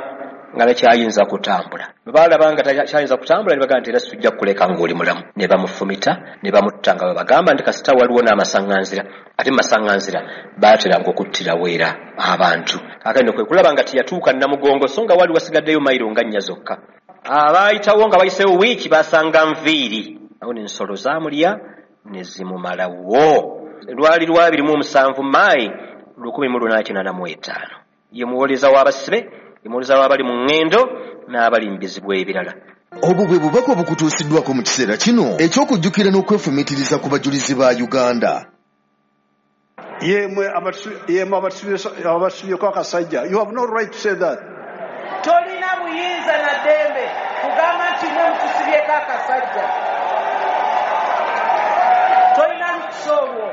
nga takyayinza kutambula. Bwe baalaba nga takyayinza kutambula, ne bagamba nti era sijja kukuleka ng'oli mulamu, ne bamufumita ne bamutta, nga babagamba nti kasita waliwo n'amasaŋŋanzira, ate mu masaŋŋanzira baateranga okuttirawo era abantu. Kaakati nno kwe kulaba nga teyatuuka Namugongo, so nga wali wasigaddeyo mayiro nga 4 zokka. Abaayitawo nga bayiseewo wiiki basanga nviiri awo, n'ensolo zaamulya ne zimumalawo. Lwali lwa 27 Maayi 1885. Ye muwoleza w'abasibe, muwoleza w'abali mu ŋŋendo n'abali mu bizibu ebirala. Obwo bwe bubaka obukutuusiddwako mu kiseera kino eky'okujjukira n'okwefumiitiriza ku bajulizi ba Uganda. Yemwe abatusibyeko akasajja, you have no right to say that. Tolina buyinza na ddembe kugamba nti mwe mutusibyeko akasajja. Tolina lukusa olwo.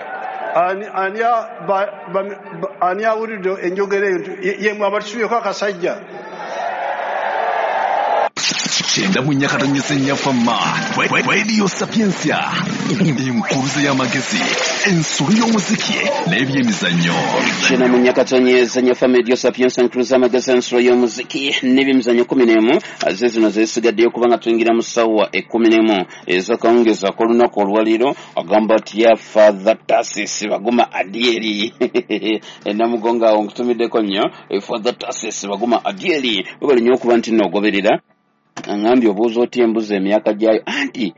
Ani awulidde enjogera eyo nti yemwe abatusibyeko akasajja? 94.4 Fama Radio Sapiensia, enkuluze y'amagezi, ensolo y'omuziki n'ebyemizannyo. 94.4 Fama Radio Sapiensia, enkuluze y'amagezi, ensolo y'omuziki n'ebyemizannyo. 11 ze zino zesigaddeyo kubanga tuyingira mu ssaawa 11 ez'akawungeezi ak'olunaku olwaleero. Agamba atya Father Tasis Baguma Adieri Namugongo awo? Nkutumiddeko nnyo, Father Tasis Baguma Adieri, webale nnyo okuba nti noogoberera. Aŋambye obuuza otya embuzi emyaka gyayo? Anti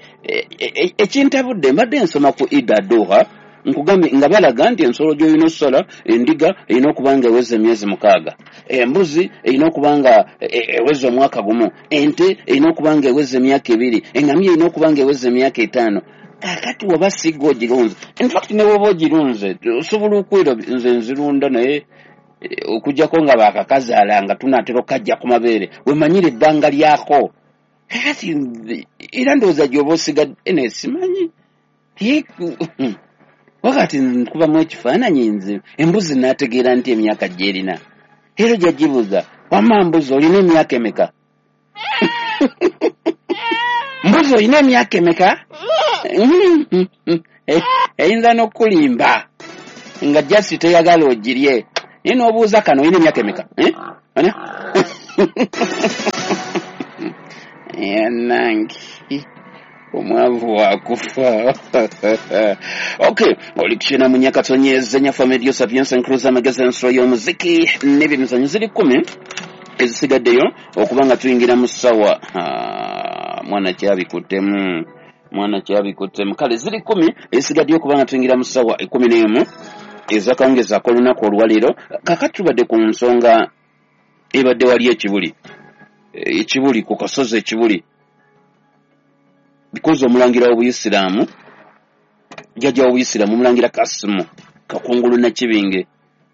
ekintabudde, mbadde nsoma ku Ida Duha, nkugambye nga balaga nti ensolo gy'olina okusala, endiga erina okuba nga eweza emyezi 6, embuzi erina okuba nga eweza omwaka 1, ente erina okuba nga eweza emyaka 2, eŋŋamiya erina okuba nga eweza emyaka 5. Kakati waba sigga ogirunze, infact ne woba ogirunze osobola okwera. Nze nzirunda, naye okuggyako nga baakakazaala nga tunaatera okukajja ku mabeere, wemanyire ebbanga lyako. Kakati era ndowooza gy'oba osigadde ene simanyi. Wakati nkubamu ekifaananyi nze embuzi n'ategeera nti emyaka gy'erina. Era ojja gibuuza, wamma mbuzi olina emyaka emeka? Mbuzi olina emyaka emeka? Eyinza n'okukulimba nga jasi teyagala ogirye. Naye n'obuuza kano olina emyaka emeka? Yanange omwavu wakufa. Okay, oli kukyena mu Nyakatonyeze Nyafa Radio Sapienza Nkruza amagezi ensolo y'omuziki n'ebyemizannyo ziri 10 ezisigaddeyo okuba nga tuyingira mu ssawa. Mwana kyabikuttemu, mwana kyabikuttemu. Kale ziri 10 ezisigaddeyo okuba nga tuyingira mu ssawa 11 ezakawungeezi ak'olunaku olwaleero. Kakati tubadde ku nsonga ebadde wali ekibuli, ekibuli ku kasozi ekibuli, because omulangira w'obuyisiraamu, jjajja w'obuyisiraamu omulangira Kasimu Kakungulu Nakibinge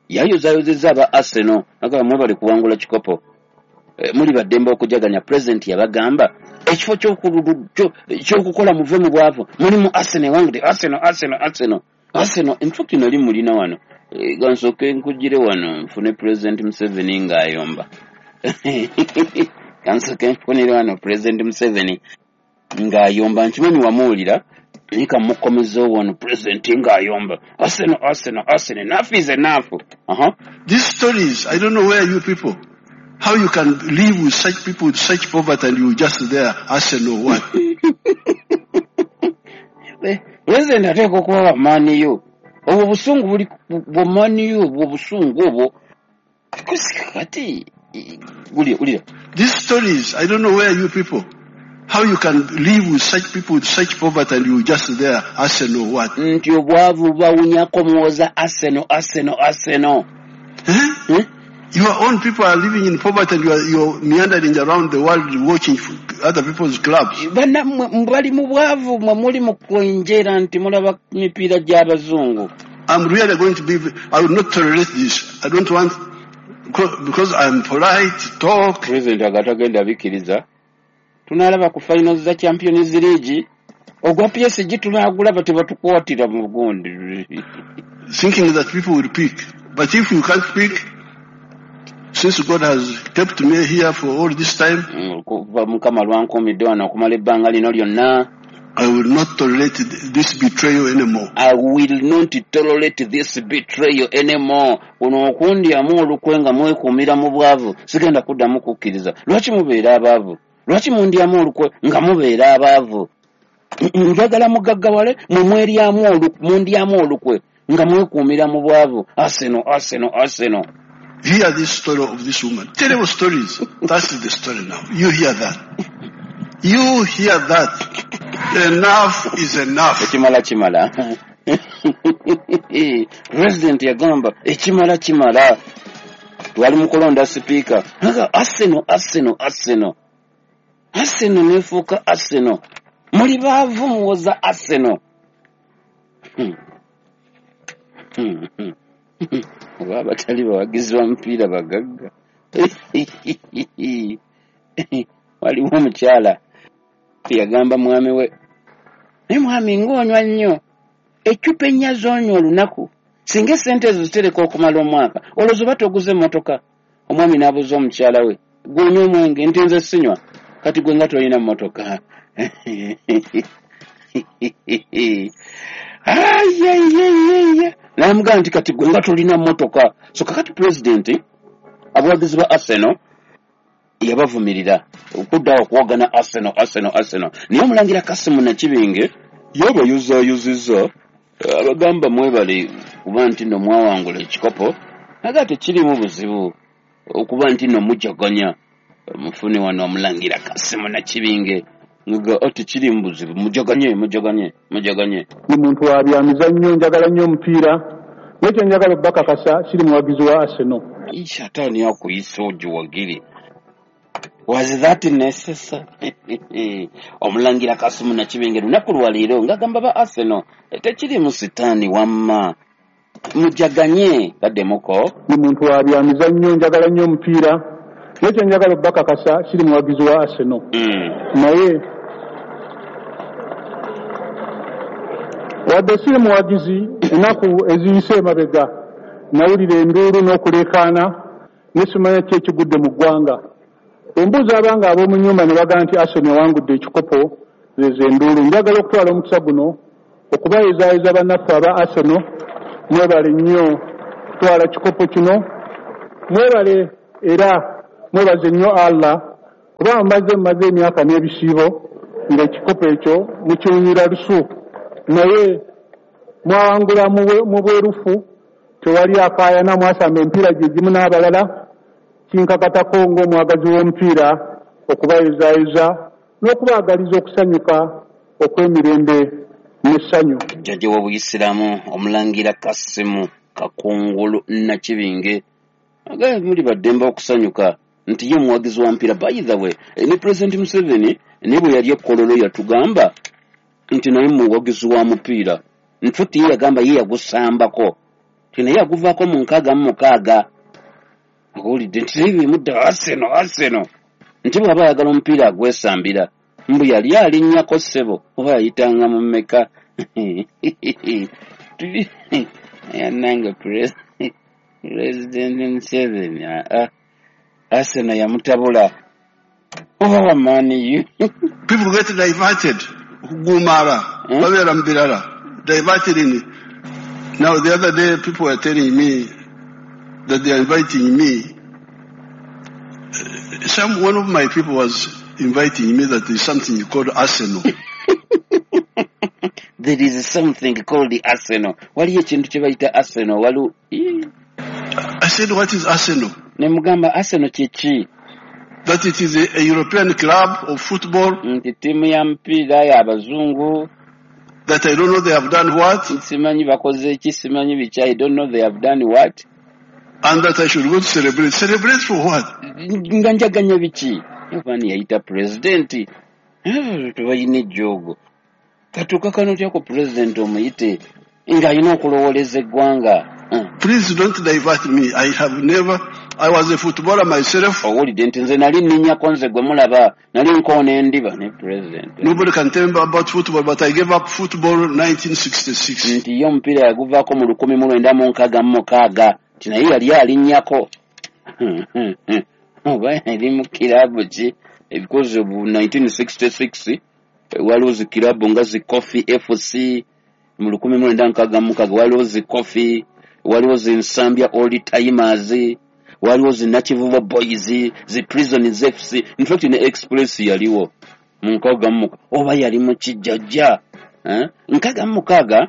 yayozaayozezza aba Arsenal agamba mwebale kuwangula kikopo, muli baddembe okujaganya. President yabagamba ekifo ky'okukola muve mu bwavu mulimu Arsenal ewangudde. Arsenal, Arsenal, Arsenal, Arsenal. In fact nali mulina wano, gansooke nkugire wano nfune President Museveni ng'ayomba. Gansooke nfunire wano President Museveni ng'ayomba, nkimanyi wamuwulira naye kamukomezeewo wano President ng'ayomba Arsenal, Arsenal, Arsenal, enough is enough. These stories, I don't know where you people, how you can live with such people with such poverty and you just there, Arsenal what? President ateekwa okuba wa maani yo. Obwo busungu buli bwa maani yo, obwo busungu obwo. Kati wulira. These stories, I don't know where you people, how you can live with such people with such poverty and you just there, Arsenal what? Nti obwavu bawunyako muwoza Arsenal, Arsenal, Arsenal. Your own people are living in poverty and you're meandering around the world watching other people's clubs. Bali mu bwavu mwe muli mu kwenjera nti mulaba mipiira gy'abazungu. I'm really going to be, I will not tolerate this. I don't want, because I'm polite, talk. President agatagenda bikkiriza. Tunalaba ku finals za Champions League ogwa PSG tunagulaba tebatukwatira mu gundi. Thinking that people will pick. But if you can't pick, since God has kept me here for all this time, kuva Mukama lwankuumidde wano okumala ebbanga lino lyonna, I will not tolerate this betrayal anymore. I will not tolerate this betrayal anymore. Kuno okundyamu olukwe nga mwekuumira mu bwavu, sigenda kuddamu kukkiriza. Lwaki mubeera abaavu? Lwaki mundyamu olukwe nga mubeera abaavu? Njagala mugaggawale mwe mweryamu mundyamu olukwe nga mwekuumira mu bwavu. Arsenal, Arsenal, Arsenal. Hear this story of this woman. Terrible stories. That's the story now. You hear that. You hear that. Enough is enough. Ekimala kimala. President yagamba ekimala kimala. Twali mu kulonda speaker. Arsenal, Arsenal, Arsenal. Arsenal nefuuka Arsenal. Muli baavu muwoza Arsenal. Oba abatali bawagizi ba mupiira bagagga. Waliwo omukyala yagamba mwami we, naye mwami ng'onywa nnyo, eccupa ennya z'onywa olunaku, singa essente ezo zitereka okumala omwaka, olwo zoba toguze emmotoka. Omwami n'abuuza omukyala we, gw'onywa omwenge? Nti nze sinywa. Kati gwe nga tolina mmotoka. N'amugamba nti kati gwe nga tolina mmotoka. So kakati President abawagizi ba Arsenal yabavumirira okuddawo okuwogana Arsenal, Arsenal, Arsenal. Naye omulangira Kasimu Nakibinge yabayuzaayuzizza abagamba mwebale kuba nti nno mwawangula ekikopo, naye tekirimu buzibu okuba nti nno mujaganya. Mufune wano omulangira Kasimu Nakibinge nga tekirimu buzibu, mujaganye, mujaganye, mujaganye. Ndi muntu wa byamizannyo, njagala nnyo omupiira, naye kye njagala obbakakasa siri muwagizi wa Arsenal. Sataani akuyisa ogiwagire. Was that necessary? Omulangira Kasimu Nakibinge lunaku lwa leero ng'agamba ba Arsenal tekirimu sitaani wamma, mujaganye. Kaddemuko. Ndi muntu wa byamizannyo, njagala nnyo omupiira, naye kye njagala obbakakasa siri muwagizi wa Arsenal. Naye Wadde siri muwagizi, ennaku eziyise emabega nawulira enduulu n'okuleekaana ne simanya ki ekigudde mu ggwanga. Embuuza abanga ab'omu nnyumba ne bagamba nti Arsenal ewangudde ekikopo, zezo enduulu. Njagala okutwala omukisa guno okubayozaayoza bannaffe aba Arsenal, mwebale nnyo kutwala kikopo kino, mwebale era mwebaze nnyo Allah kuba mmaze emyaka n'ebisiibo ng'ekikopo ekyo mukiwunyira lusu, naye mwawangula mu bwerufu, tewali akaayana, mwasamba emipiira gye gimu n'abalala. Kinkakatako ng'omwagazi w'omupiira okubayozaayoza n'okubaagaliza okusanyuka okw'emirembe n'essanyu. Jjajja w'Obuyisiraamu Omulangira Kasimu Kakungulu Nakibinge agambye muli baddembe okusanyuka nti ye muwagizi wa mupiira. By the way, ne Pulezidenti Museveni naye bwe yali e Kololo yatugamba nti naye muwagizi wa mupiira. In fact ye yagamba ye yagusambako nti naye yaguvaako mu 66. Akuwulidde nti naye bimudda Arsenal nti bw'aba ayagala omupiira agwesambira, mbu yali alinnyako ssebo oba yayitanga mu mmeka. Yannange Pulezidenti Museveni Arsenal yamutabula oba wa Man U. People get diverted okugumala babeera mu birala, diverted in. Now the other day people were telling me that they are inviting me. One of my people was inviting me that there is something called Arsenal. There is something called the Arsenal. Waliyo ekintu kye bayita Arsenal. Waliwo. I said, what is Arsenal? Ne mugamba Arsenal kye ki? That it is a European club of football. Nti ttiimu ya mupiira y'abazungu. That I don't know they have done what. Simanyi bakoze ki, simanyi biki. I don't know they have done what. And that I should go to celebrate. Celebrate for what? Nga njaganya biki? Yohani yayita pulezidenti. Tebalina ejjoogo. Katuuka kano otya ku pulezidenti omuyite ng'alina okulowooleza eggwanga. Please don't divert me. I have never, I was a footballer myself. Owulidde nti nze nali nninnyako nze gwe mulaba, nali nkoona endiba ne pulezidenti. Nobody can tell me about football, but I gave up football in 1966. Nti ye omupiira yaguvaako mu 1966, nti naye yali alinnyako. Oba yali mu kiraabu ki? Because of 1966 waliwo zi kiraabu nga zi Coffee FC mu 1966, waliwo zi Coffee, waliwo zi Nsambya Old Timers, waliwo zi Nakivubo Boys, zi Prisons FC. In fact ne Express yaliwo mu 66, oba yali mu kijjajja. 66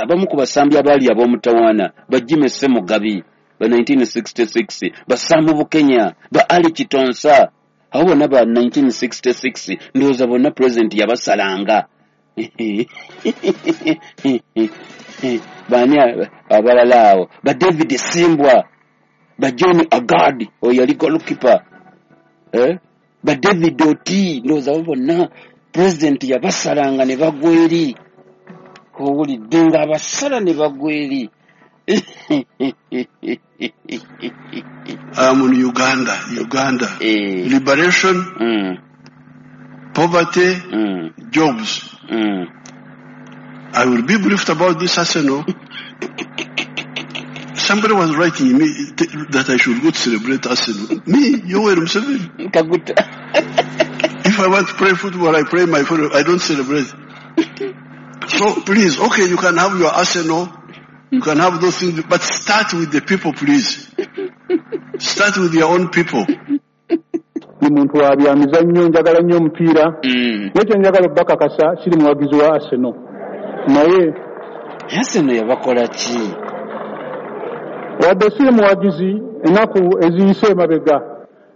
abamu ku basambi abaali ab'omutawaana ba Jimmy Ssemugabi ba 1966, ba Sam Bukenya, ba Ali Kitonsa, abo bonna ba 1966 ndowooza bonna pulezidenti yabasalanga. Baani abalala awo? Ba David Simbwa, ba John Agard oyo yali goalkeeper, ba David Oti, ndowooza abo bonna pulezidenti yabasalanga ne bagwa eri. Owulidde ng'abasala ne bagwa eri. I am in Uganda. Liberation, poverty, jobs. I will be briefed about this Arsenal. Somebody was writing me that I should go to celebrate Arsenal. Me, Yoweri Museveni. If I want to play football, I play my football. I don't celebrate. So please, okay, you can have your Arsenal, you can have those things, but start with the people, please. Start with your own people. Ndi muntu wa byamizannyo, njagala nnyo omupiira, naye kye njagala okubakakasa siri muwagizi wa Arsenal. Naye Arsenal yabakola ki? Wadde siri muwagizi, ennaku eziyise emabega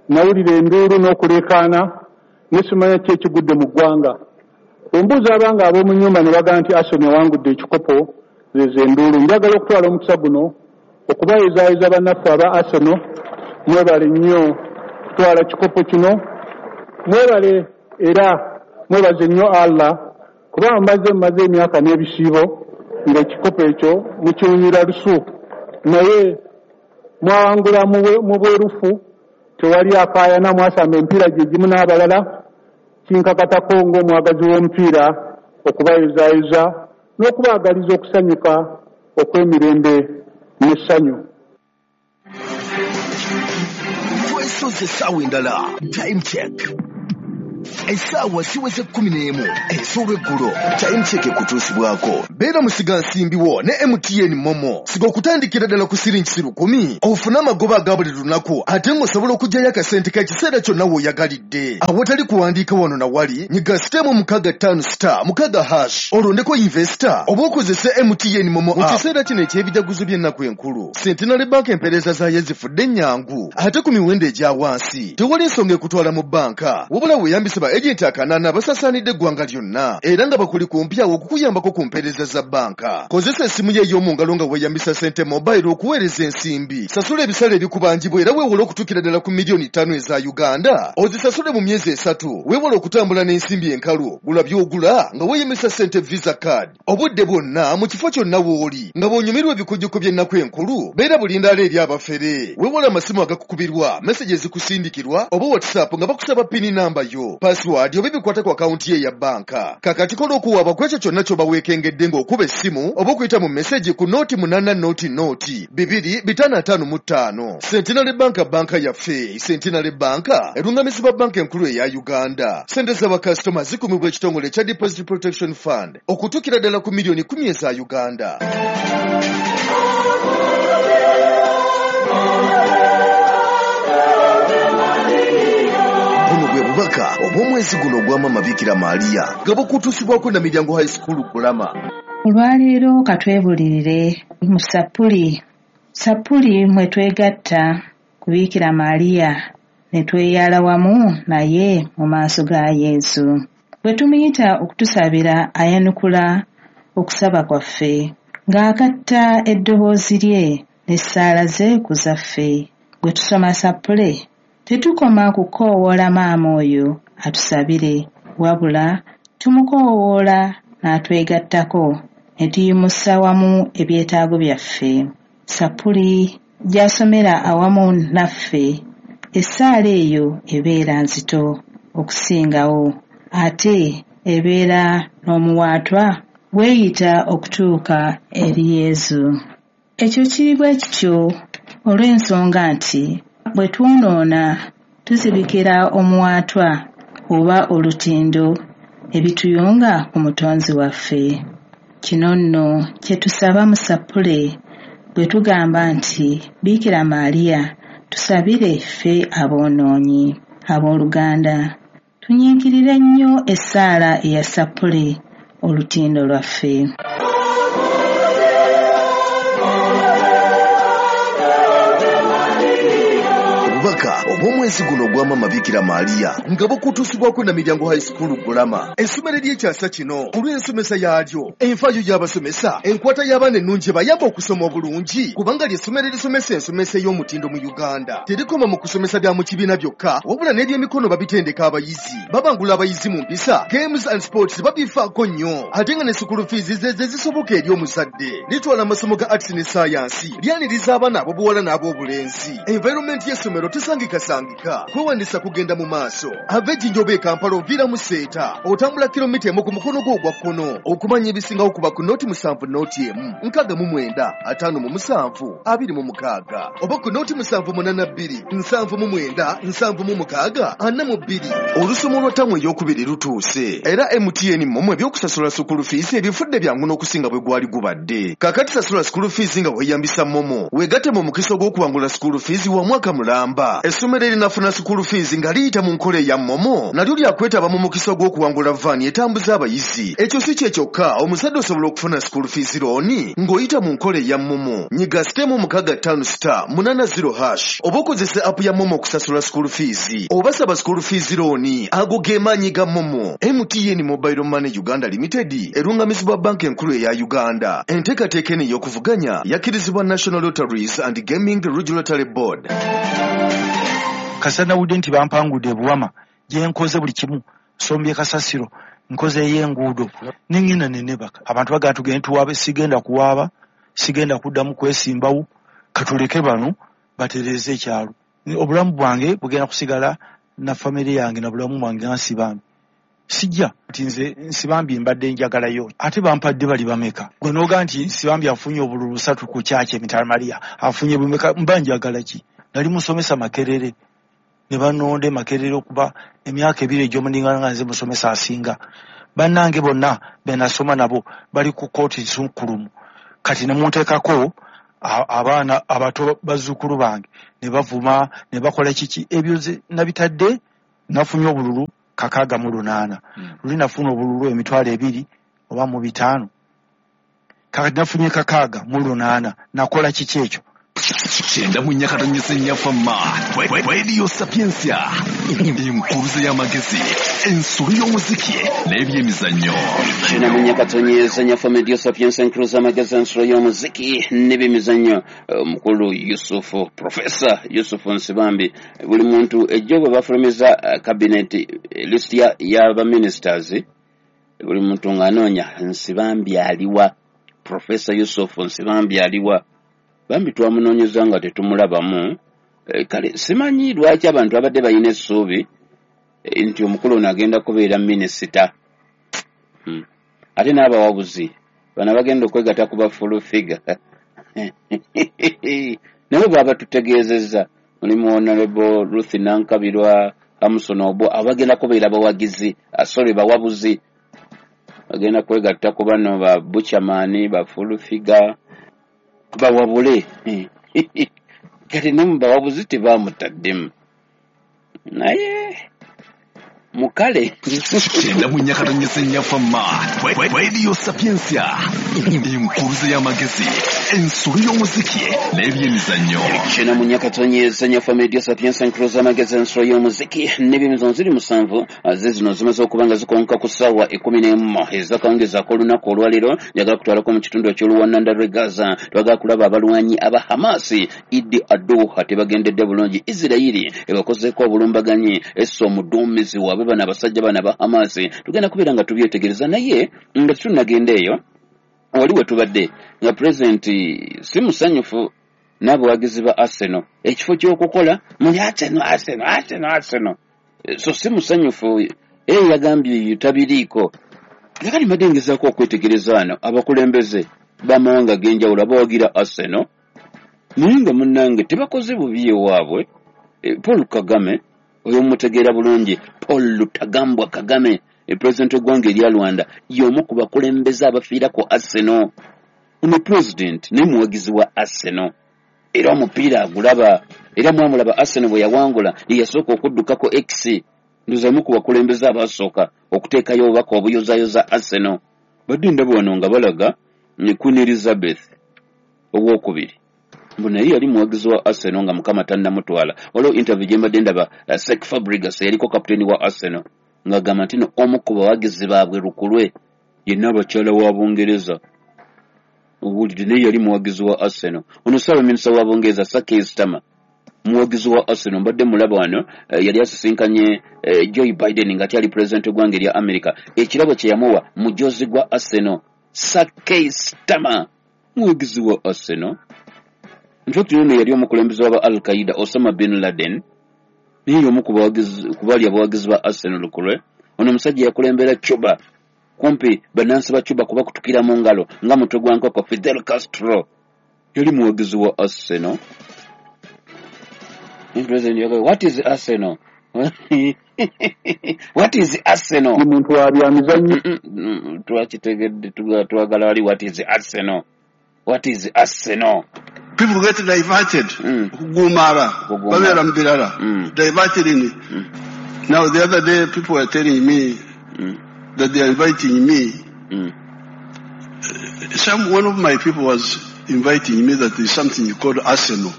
nawulira enduulu n'okuleekaana ne simanya ki ekigudde mu ggwanga. Embuuza abanga ab'omu nnyumba ne bagamba nti Arsenal ewangudde ekikopo, zezo enduulu. Njagala okutwala omukisa guno okubayozaayoza bannaffe aba Arsenal, mwebale nnyo kutwala kikopo kino, mwebale era mwebaze nnyo Allah kuba mmaze emyaka n'ebisiibo ng'ekikopo ekyo mukiwunyira lusu, naye mwawangula mu bwerufu, tewali akaayana, mwasamba emipiira gye gimu n'abalala. Kinkakatako ng'omwagazi w'omupiira okubayozaayoza n'okubaagaliza okusanyuka okw'emirembe n'essanyu. Twesoze essaawa endala. Time check. Essaawa ziweze 11 ez'olweggulo. Time check ekutuusibwako. Beera musigansimbi wo ne MTN Momo. Siga okutandikira ddala ku siringi 10,000 ofune amagoba aga buli lunaku, ate ng'osobola okuggyayo akasente k'ekiseera kyonna w'oyagalidde. Awatali kuwandiika wano na wali, nyiga *656*6# olondeko investor oba okozese MTN Momo app. Mu kiseera kino eky'ebijaguzo by'ennaku enkulu, Centenary Bank empeereza zaayo zifudde ennyangu ate ku miwendo egya wansi. Tewali nsonga ekutwala mu bbanka, wabula weeyambise ba agenti akanaana abasasaanidde eggwanga lyonna era nga bakuli kumpi awo okukuyambako ku mpeereza za bbanka. Kozesa essimu yo ey'omu ngalo nga weeyambisa Sente Mobile okuweereza ensimbi. Sasula ebisale ebikubanjibwa era weewole okutuukira ddala ku miliyoni 5 eza Uganda. Ozisasule mu myezi 3. Weewole okutambula n'ensimbi enkalu. Gula by'ogula nga weeyambisa Sente Visa card. Obudde bwonna mu kifo kyonna w'oli nga bw'onyumirwa ebikujjuko by'ennaku enkulu, beera bulindaala eri abafere. Weewole amasimu agakukubirwa, message ezikusindikirwa oba WhatsApp nga bakusaba pini namba yo, password oba ebikwata ku akawunti ye ya bbanka. Kakati kola okuwaaba ku ekyo kyonna ky'oba weekengedde ng'okuba essimu oba okuyita mu message ku 0800 255. Centenary Bank, banka yaffe. Centenary Bank erungamizibwa banka enkulu eya Uganda. Sente z'abakasitoma zikumibwa ekitongole ekya Deposit Protection Fund okutuukira ddala ku miliyoni 10 eza Uganda. Buno bwe bubaka obw'omwezi guno ogwa Maama Bikira Maria nga bukutuusibwako na Miryango High School Bulama. Olwaleero katwebulirire mu Sappuli. Sappuli mwe twegatta ku Bikira Maria ne tweyala wamu naye mu maaso ga Yesu. Bwe tumuyita okutusabira ayanukula okusaba kwaffe ng'agatta eddoboozi lye n'essaala ze ku zaffe. Bwe tusoma Sappule tetukoma kukoowoola maama oyo atusabire, wabula tumukoowoola n'atwegattako ne tuyimusa wamu ebyetaago byaffe. Sappuli gy'asomera awamu naffe, essaala eyo ebeera nzito okusingawo, ate ebeera n'omuwaatwa weeyita okutuuka eri Yesu. Ekyo kiri bwe kityo olw'ensonga nti bwe twonoona tuzibikira omuwaatwa oba olutindo ebituyunga ku Mutonzi waffe. Kino nno kye tusaba mu Sappule bwe tugamba nti Bikira Maria tusabire ffe aboonoonyi. Abooluganda, tunyiikirire nnyo essaala eya Sappule, olutindo lwaffe. Obubaka obw'omwezi guno ogwa Maama Bikira Maria nga bukutuusibwako na Miryango High School Bulama. Essomero ery'ekyasa kino olw'ensomesa yaalyo, enfaayo y'abasomesa, enkwata y'abaana ennungi ebayamba okusoma obulungi, kubanga ly'essomero erisomesa ensomesa ey'omutindo mu Uganda. Terikoma mu kusomesa bya mu kibiina byokka, wabula n'ebyemikono babitendeka abayizi. Babangula abayizi mu mpisa, games and sports babifaako nnyo, ate nga ne school fees ze zisoboka eri omuzadde. Litwala amasomo ga arts ne science, lyaniriza abaana ab'obuwala n'ab'obulenzi. Environment y'essomero tesangikasangika. Kwewandiisa kugenda mu maaso. Ava Ejjinja oba e Kampala oviira mu Seeta, otambula kilomita 1 ku mukono gwo ogwa kkono. Okumanya ebisingawo kuba ku 07 01 69 57 26 oba ku 0782 79 76 42. Olusoma olwa ttamu ey'okubiri lutuuse era MTN Momo ebyokusasula school fees ebifudde byangu n'okusinga bwe gwali gubadde. Kaakati sasula school fees nga weeyambisa Momo, weegatte mu mukisa ogw'okuwangula school fees wa mwaka mulamba. Essomero erinafuna school fees nga liyita mu nkola eya Momo nalyo lyakwetaba mu mukisa ogw'okuwangula vaani etambuza abayizi. Ekyo si kye kyokka, omuzadde osobola okufuna school fees looni ng'oyita mu nkola eya Momo. Nyiga *656*80# oba okozesa app ya Momo okusasula school fees oba saba school fees looni. Ago ge maanyi ga Momo. MTN Mobile Money Uganda Limited erungamizibwa banka enkulu eya Uganda. Enteekateeka eno ey'okuvuganya yakkirizibwa National Lotteries and Gaming Regulatory Board. Kasita nawulidde nti bampangudde ebuwama gye nkoze buli kimu, nsombye kasasiro, nkoze ey'enguudo, ne ŋŋenda ne neebaka. Abantu bagamba tugende tuwaabe, sigenda kuwaaba, sigenda kuddamu kwesimbawo, katuleke bano batereeze ekyalo. Obulamu bwange bugenda kusigala na famire yange na bulamu bwange nga nsibambi. Sijja nti nze Nsibambi mbadde njagalayo, ate bampadde bali bameka? Gwe n'oga nti Nsibambi afunye obululu busatu ku kyaki emitala Maria afunye bumeka, mba njagala ki? Nali musomesa Makerere ne banonda e Makerere okuba emyaka ebiri egy'omuningana nga nze musomesa asinga. Bannange bonna be nasoma nabo bali ku kkooti nsukkulumu, kati ne munteekako abaana abato bazzukulu bange ne bavuma ne bakola kiki. Ebyo nze nabitadde. Nafunye obululu 68, luli nafuna obululu 2,005, kakati nafunye 68, nakola kiki ekyo? 94.4 Fama Radio Sapientia, enkuluze y'amagezi, ensolo y'omuziki n'ebyemizannyo. 94.4 Fama Radio Sapientia, enkuluze y'amagezi, ensolo y'omuziki n'ebyemizannyo. Omukulu Yusufu, Profesa Yusufu Nsibambi, buli muntu ejjo bwe bafulumiza cabinet list y'abaministers, buli muntu ng'anoonya Nsibambi aliwa, Profesa Yusufu Nsibambi aliwa. Bambi twamunoonyeza nga tetumulabamu. Kale simanyi lwaki abantu abadde balina essuubi nti omukulu ono agenda kubeera minisita. Ate n'abawabuzi bano abagenda okwegatta ku ba full figure nabo baba tutegeezezza, mulimu Honorable Ruth Nankabirwa, Hamson Obo, abagenda kubeera bawagizi, sorry, bawabuzi, bagenda kwegatta ku bano ba Buchaman, ba full figure, bawabule. Kati ne mu bawabuzi tebamutaddemu, naye mukale. 94.4 Fama Radio Sapientia, enkuluze y'amagezi, ensolo y'omuziki n'ebyemizannyo. 94.4 Fama Radio Sapientia, enkuluze y'amagezi, ensolo y'omuziki n'ebyemizannyo. Ziri 7 ze zino zimaze okuba nga zikonka ku ssaawa 11 ez'akawungeezi ak'olunaku olwaleero. Njagala kutwalako mu kitundu eky'oluwananda lw'e Gaza. Twagala kulaba abalwanyi aba Hamasi Idi Aduha tebagendedde bulungi. Isirayiri ebakozeeko obulumbaganyi, esse omuduumizi waabwe bano abasajja bano aba Hamasi. Tugenda kubeera nga tubyetegereza, naye nga tetunnagenda eyo, wali we tubadde nga pulezidenti si musanyufu n'abawagizi ba Arsenal. Ekifo ky'okukola muli Arsenal, Arsenal, Arsenal, Arsenal. So si musanyufu, era yagambye tabiriiko. Kakati mbadde ngezaako okwetegereza wano abakulembeze b'amawanga ag'enjawulo abawagira Arsenal, naye nga munnange tebakoze bubi ewaabwe. Paul Kagame oyo mumutegeera bulungi, Paul Rutagambwa Kagame, pulezidenti w'eggwanga erya Rwanda, y'omu ku bakulembeze abafiirako Arsenal. Ono pulezidenti naye muwagizi wa Arsenal, era omupiira agulaba, era mwamulaba Arsenal bwe yawangula ye yasooka okuddukako X. Ndoza omu ku bakulembeze abasooka okuteekayo obubaka obuyozayoza Arsenal. Badde ndaba wano nga balaga ne Queen Elizabeth owokubiri, mbu naye yali muwagizi wa Arsenal nga Mukama tannamutwala. Waliwo interview gye mbadde ndaba Cesc Fabregas yaliko kapiteeni wa Arsenal ng'agamba nti no omu ku bawagizi baabwe lukulwe yenna abakyala wa Bungereza. Owulidde, naye yali muwagizi wa Arsenal. Ono ssaabaminisita wa Bungereza Sir Keir Starmer muwagizi wa Arsenal. Mbadde mulaba wano yali asisinkanye Joe Biden nga akyali pulezidenti w'eggwanga erya America. Ekirabo kye yamuwa mujozi gwa Arsenal. Sir Keir Starmer muwagizi wa Arsenal. In fact, ono yali omukulembeze w'aba Al Qaeda Osama bin Laden, naye y'omu ku bali abawagizi ba Arsenal lukulwe. Ono omusajja yakulembera Cuba, kumpi bannansi ba Cuba kubakutukira mu ngalo nga mutwe gwa nkoko. Fidel Castro yali muwagizi wa Arsenal. President yagamba, what is Arsenal? What is Arsenal? Ni muntu wa byamizannyo. Twakitegedde, twagala wali what is Arsenal? What is Arsenal? People get diverted. Gumara, babeera mu birala. Diverted in. Now the other day people were telling me that they are inviting me. One of my people was inviting me that there's something called Arsenal.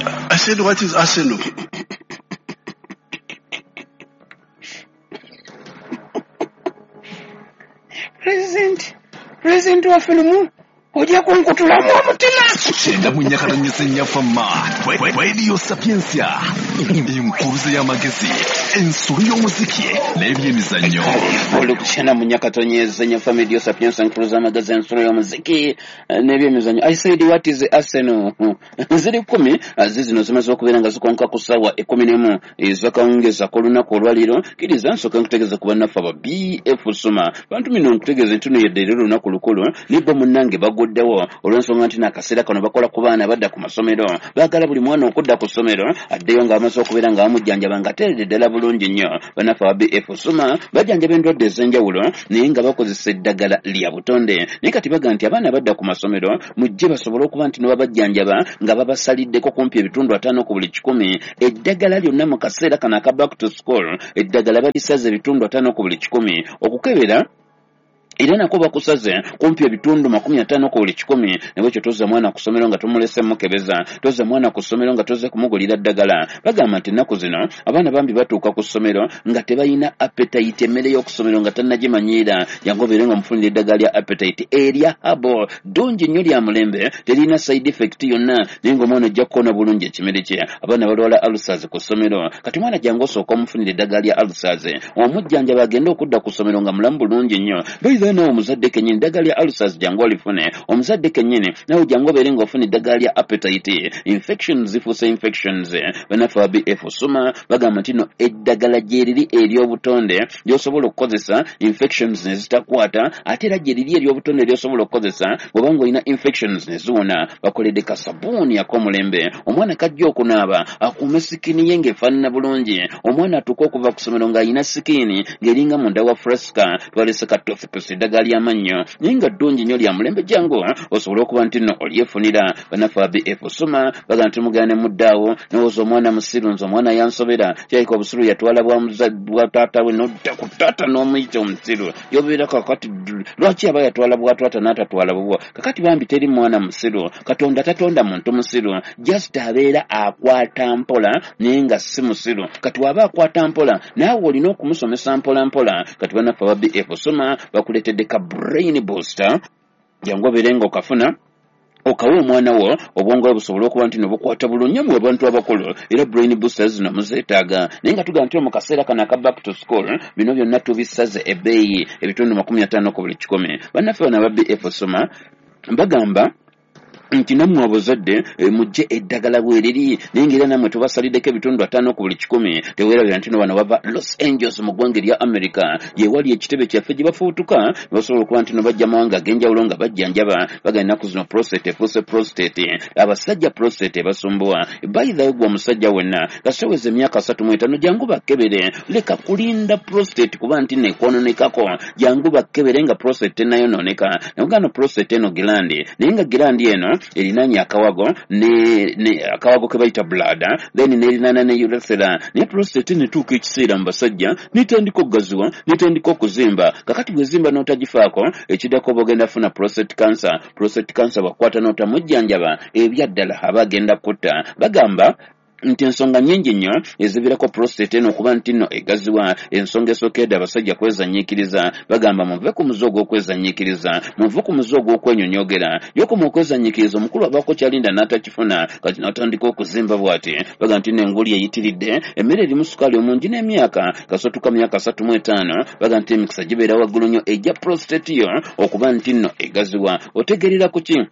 I said, what is Arsenal? President waffe lumu ojja kunkutulamu omutima. 94.4 Fama Radio Sapientia, enkuruze y'amagezi, ensolo y'omuziki n'ebyemizannyo. Olukushana munyakatonyeza nya Fama Radio Sapientia, enkuruze y'amagezi, ensolo y'omuziki n'ebyemizannyo. I said what is Arsenal? Ziri 10 zizino zimaze okubeera nga zikonka ku ssaawa 11 ez'akawungeezi ak'olunaku olwaleero. Kkiriza nsooka nkutegeeza ku bannaffe aba BF Suma. Bantu mino nkutegeeza nti yedde era olunaku lukulu nibbo munnange baguddewo olw'ensonga nti n'akaseera kano bakola ku baana badda ku masomero. Baagala buli mwana okudda ku ssomero addeyo ng'amaze okubeera nga bamujjanjaba ng'ateeredde ddala bulungi nnyo. Bannaffe aba BF Suma bajjanjaba endwadde ez'enjawulo naye nga bakozesa eddagala lya butonde. Naye kati baga nti abaana badda ku masomero mujje basobole okuba nti babajjanjaba nga babasaliddeko kumpi ebitundu 5 ku buli 100. Eddagala lyonna mu kaseera kano aka back to school eddagala balisaze ebitundu 5 ku buli 100. Okukebera era nako bakusaze kumpi ebitundu 50 ku buli 100. Nabwekyo tozza mwana ku ssomero nga tomulese mukebeza, tozza mwana ku ssomero nga tozze kumugulira ddagala. Bagamba nti ennaku zino abaana bambi batuuka ku ssomero nga tebalina appetite, emmere y'oku ssomero nga tannagimanyiira. Jangu obeere nga omufunira eddagala lya appetite erya habo ddungi nnyo lya mulembe, terina side effect yonna, naye ng'omwana ojja kukoona bulungi ekimere kye. Abaana balwala ulcers ku ssomero, kati mwana jangu osooka omufunira eddagala lya ulcers, omujjanjaba agende okudda ku ssomero nga mulamu bulungi nnyo. Nawe omuzadde kennyini eddagala lya ulcers jangu olifune, omuzadde kennyini nawe jangu obeere ng'ofuna eddagala lya appetite. Infections zifuuse infections. Bannaffe aba BF Suma bagamba nti no eddagala gye riri ery'obutonde ly'osobola okukozesa infections ne zitakwata, ate era gye riri ery'obutonde ly'osobola okukozesa bw'oba ng'olina infections ne ziwona. Bakoledde kasabuuni ak'omulembe, omwana kajja okunaaba akuume sikini ye ng'efaanana bulungi. Omwana atuuka okuva ku ssomero ng'alina sikini ng'eringa munda wa fresca. Twalese ka toothpaste eddagala ly'amannyo naye nga ddungi nnyo lya mulembe, jangu osobole okuba nti nno olyefunira. Bannaffe aba BF Suma bagamba nti mugenda ne muddaawo nowooza omwana musiru, nze omwana yansobera, kirabika obusiru yatwala bwa taata we, nodda ku taata n'omuyita omusiru. Yobeera kakati lwaki aba yatwala bwa taata n'atatwala bubwo? Kakati bambi teri mwana musiru, Katonda tatonda muntu musiru, just abeera akwata mpola naye nga si musiru. Kati waba akwata mpola naawe olina okumusomesa mpola mpola. Kati bannaffe aba BF Suma bakuleetedde ka brain booster, jangu obeere nga okafuna okawa omwana wo obwongo bwe busobole okuba nti nobukwata bulungi mu abantu abakulu. Era brain boosters zino muzeetaaga, naye nga tugamba nti mu kaseera kano aka back to school bino byonna tubisaze ebbeeyi ebitundu 50 ku buli 100. Bannaffe bano aba BF Suma bagamba nti nammwe abazadde mujje eddagala bweriri, naye ng'era nammwe tubasaliddeko ebitundu 5 ku buli 100. Teweerabira nti no bano bava Los Angeles mu ggwanga erya America, ye wali ekitebe kyaffe gye bafuutuka ne basobola okuba nti no bajja mawanga ag'enjawulo nga bajjanjaba. Bagamba ennaku zino prostate efuuse prostate, abasajja prostate ebasumbuwa. By the way, gwe omusajja wenna kasoweza emyaka 35 jangu bakkebere, leka kulinda prostate kuba nti neekwononekako, jangu bakkebere nga prostate tennayonooneka. Nabugamba prostate eno gilandi, naye nga gilandi eno erinaanye akawago ne akawago ke bayita bladder, then n'erinaana ne urethra. Naye prostate netuuka ekiseera mu basajja netandika okugaziwa, netandika okuzimba. Kakati bwezimba n'otagifaako, ekiddako oba ogenda kufuna prostate cancer. Prostate cancer bw'akukwata n'otamujjanjaba, ebyaddala aba agenda kutta. Bagamba nti ensonga nnyingi nnyo eziviirako prostate eno okuba nti nno egaziwa. Ensonga esookedde abasajja kwezanyiikiriza. Bagamba muve ku muze ogw'okwezanyiikiriza, muve ku muze ogw'okwenyonyogera. Yokoma okwezanyiikiriza, omukulu abaako kyalinda n'atakifuna, kati n'atandika okuzimba bw'ati. Bagamba nti nno enguli eyitiridde, emmere erimu sukaali omungi n'emyaka kasotuka myaka 35. Bagamba nti emikisa gibeera waggulu nnyo ejja prostate yo okuba nti nno egaziwa. Otegeerera ku ki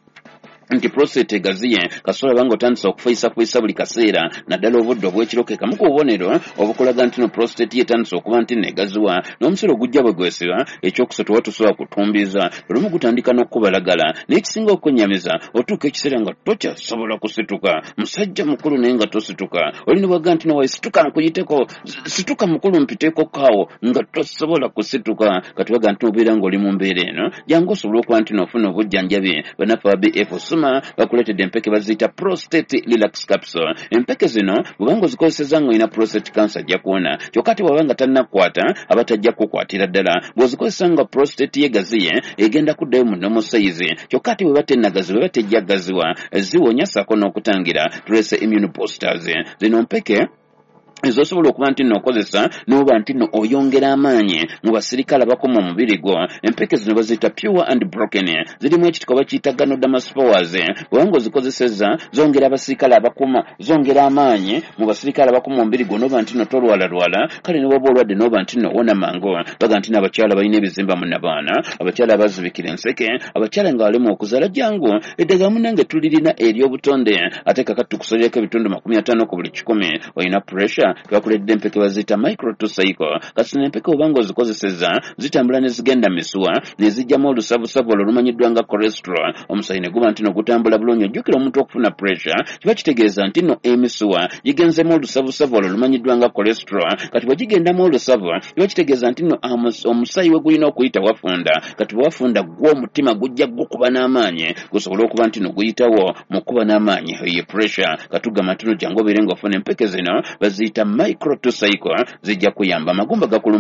nti prostate egaziye? Kasobola banga otandise okufuyisafuyisa buli kaseera, naddala obudde obw'ekiro ke kamu ku bubonero obukulaga nti no prostate ye etandise okuba nti negaziwa. N'omusiro ogujja bwe gwesiba, ekyokusatu oba tosobola kutumbiiza, olumu gutandika n'okukubalagala. Naye ekisinga okwennyamiza, otuuka ekiseera nga tokyasobola kusituka, musajja mukulu naye nga tosituka. Olina bwagga nti nowaye situka nkuyiteko, situka mukulu mpiteko kaawo, nga tosobola kusituka. Kati baga nti obeera ng'oli mu mbeera eno, jangu osobole okuba nti n'ofuna obujjanjabi. Bannaffe aba BF Suma bakuleetedde empeke baziyita prostate relax capsule. Empeke zino bw'obanga ozikozesezza ng'olina prostate cancer ajja kuwona, kyokka ate bw'aba nga tannakukwata aba tajja kukukwatira ddala. Bw'ozikozesa nga prostate ye gaziye, egenda kuddayo mu normal size, kyokka ate bw'eba tennagaziwa eba tejja kugaziwa. Ziwonya ssaako n'okutangira. Tulese immune boosters. Zino mpeke Ezosobola okuba nti nno okozesa n'oba nti nno oyongera amaanyi mu basirikale abakuma omubiri gwo. Empeke zino baziyita pure and broken, zirimu ekitiko bakiyita Ganoderma spores. Bw'oba ng'ozikozesezza, zongera abasirikale abakuma, zongera amaanyi mu basirikale abakuma omubiri gwo, n'oba nti nno tolwalalwala. Kale ne bw'oba olwadde, n'oba nti nno owona mangu. Baga nti n'abakyala balina ebizimba mu nabaana, abakyala abazibikira enseke, abakyala nga balema okuzaala, jangu eddagala munnange tulirina ery'obutonde, ate kakati tukusalirako ebitundu 50 ku buli 100. Olina pressure, twakuleetedde empeke baziyita micro to cycle. Kati zino empeke oba ng'ozikozesezza, zitambula ne zigenda mu misuwa ne zijjamu olusavusavu olwo olumanyiddwa nga cholesterol, omusaayi ne guba nti no gutambula bulungi. Ojjukira, omuntu okufuna pressure kiba kitegeeza nti nno emisuwa gigenzemu olusavusavu olwo olumanyiddwa nga cholesterol. Kati bwe gigendamu olusavu, kiba kitegeeza nti nno omusaayi we gulina okuyita wafunda. Kati bwe wafunda, gwo omutima gujja gukuba n'amaanyi gusobole okuba nti no guyitawo mu kuba n'amaanyi, ye pressure. Katugamba nti no jangu obeere ng'ofuna empeke zino baziyita micro to cycle, zijja kuyamba amagumba gakuluma.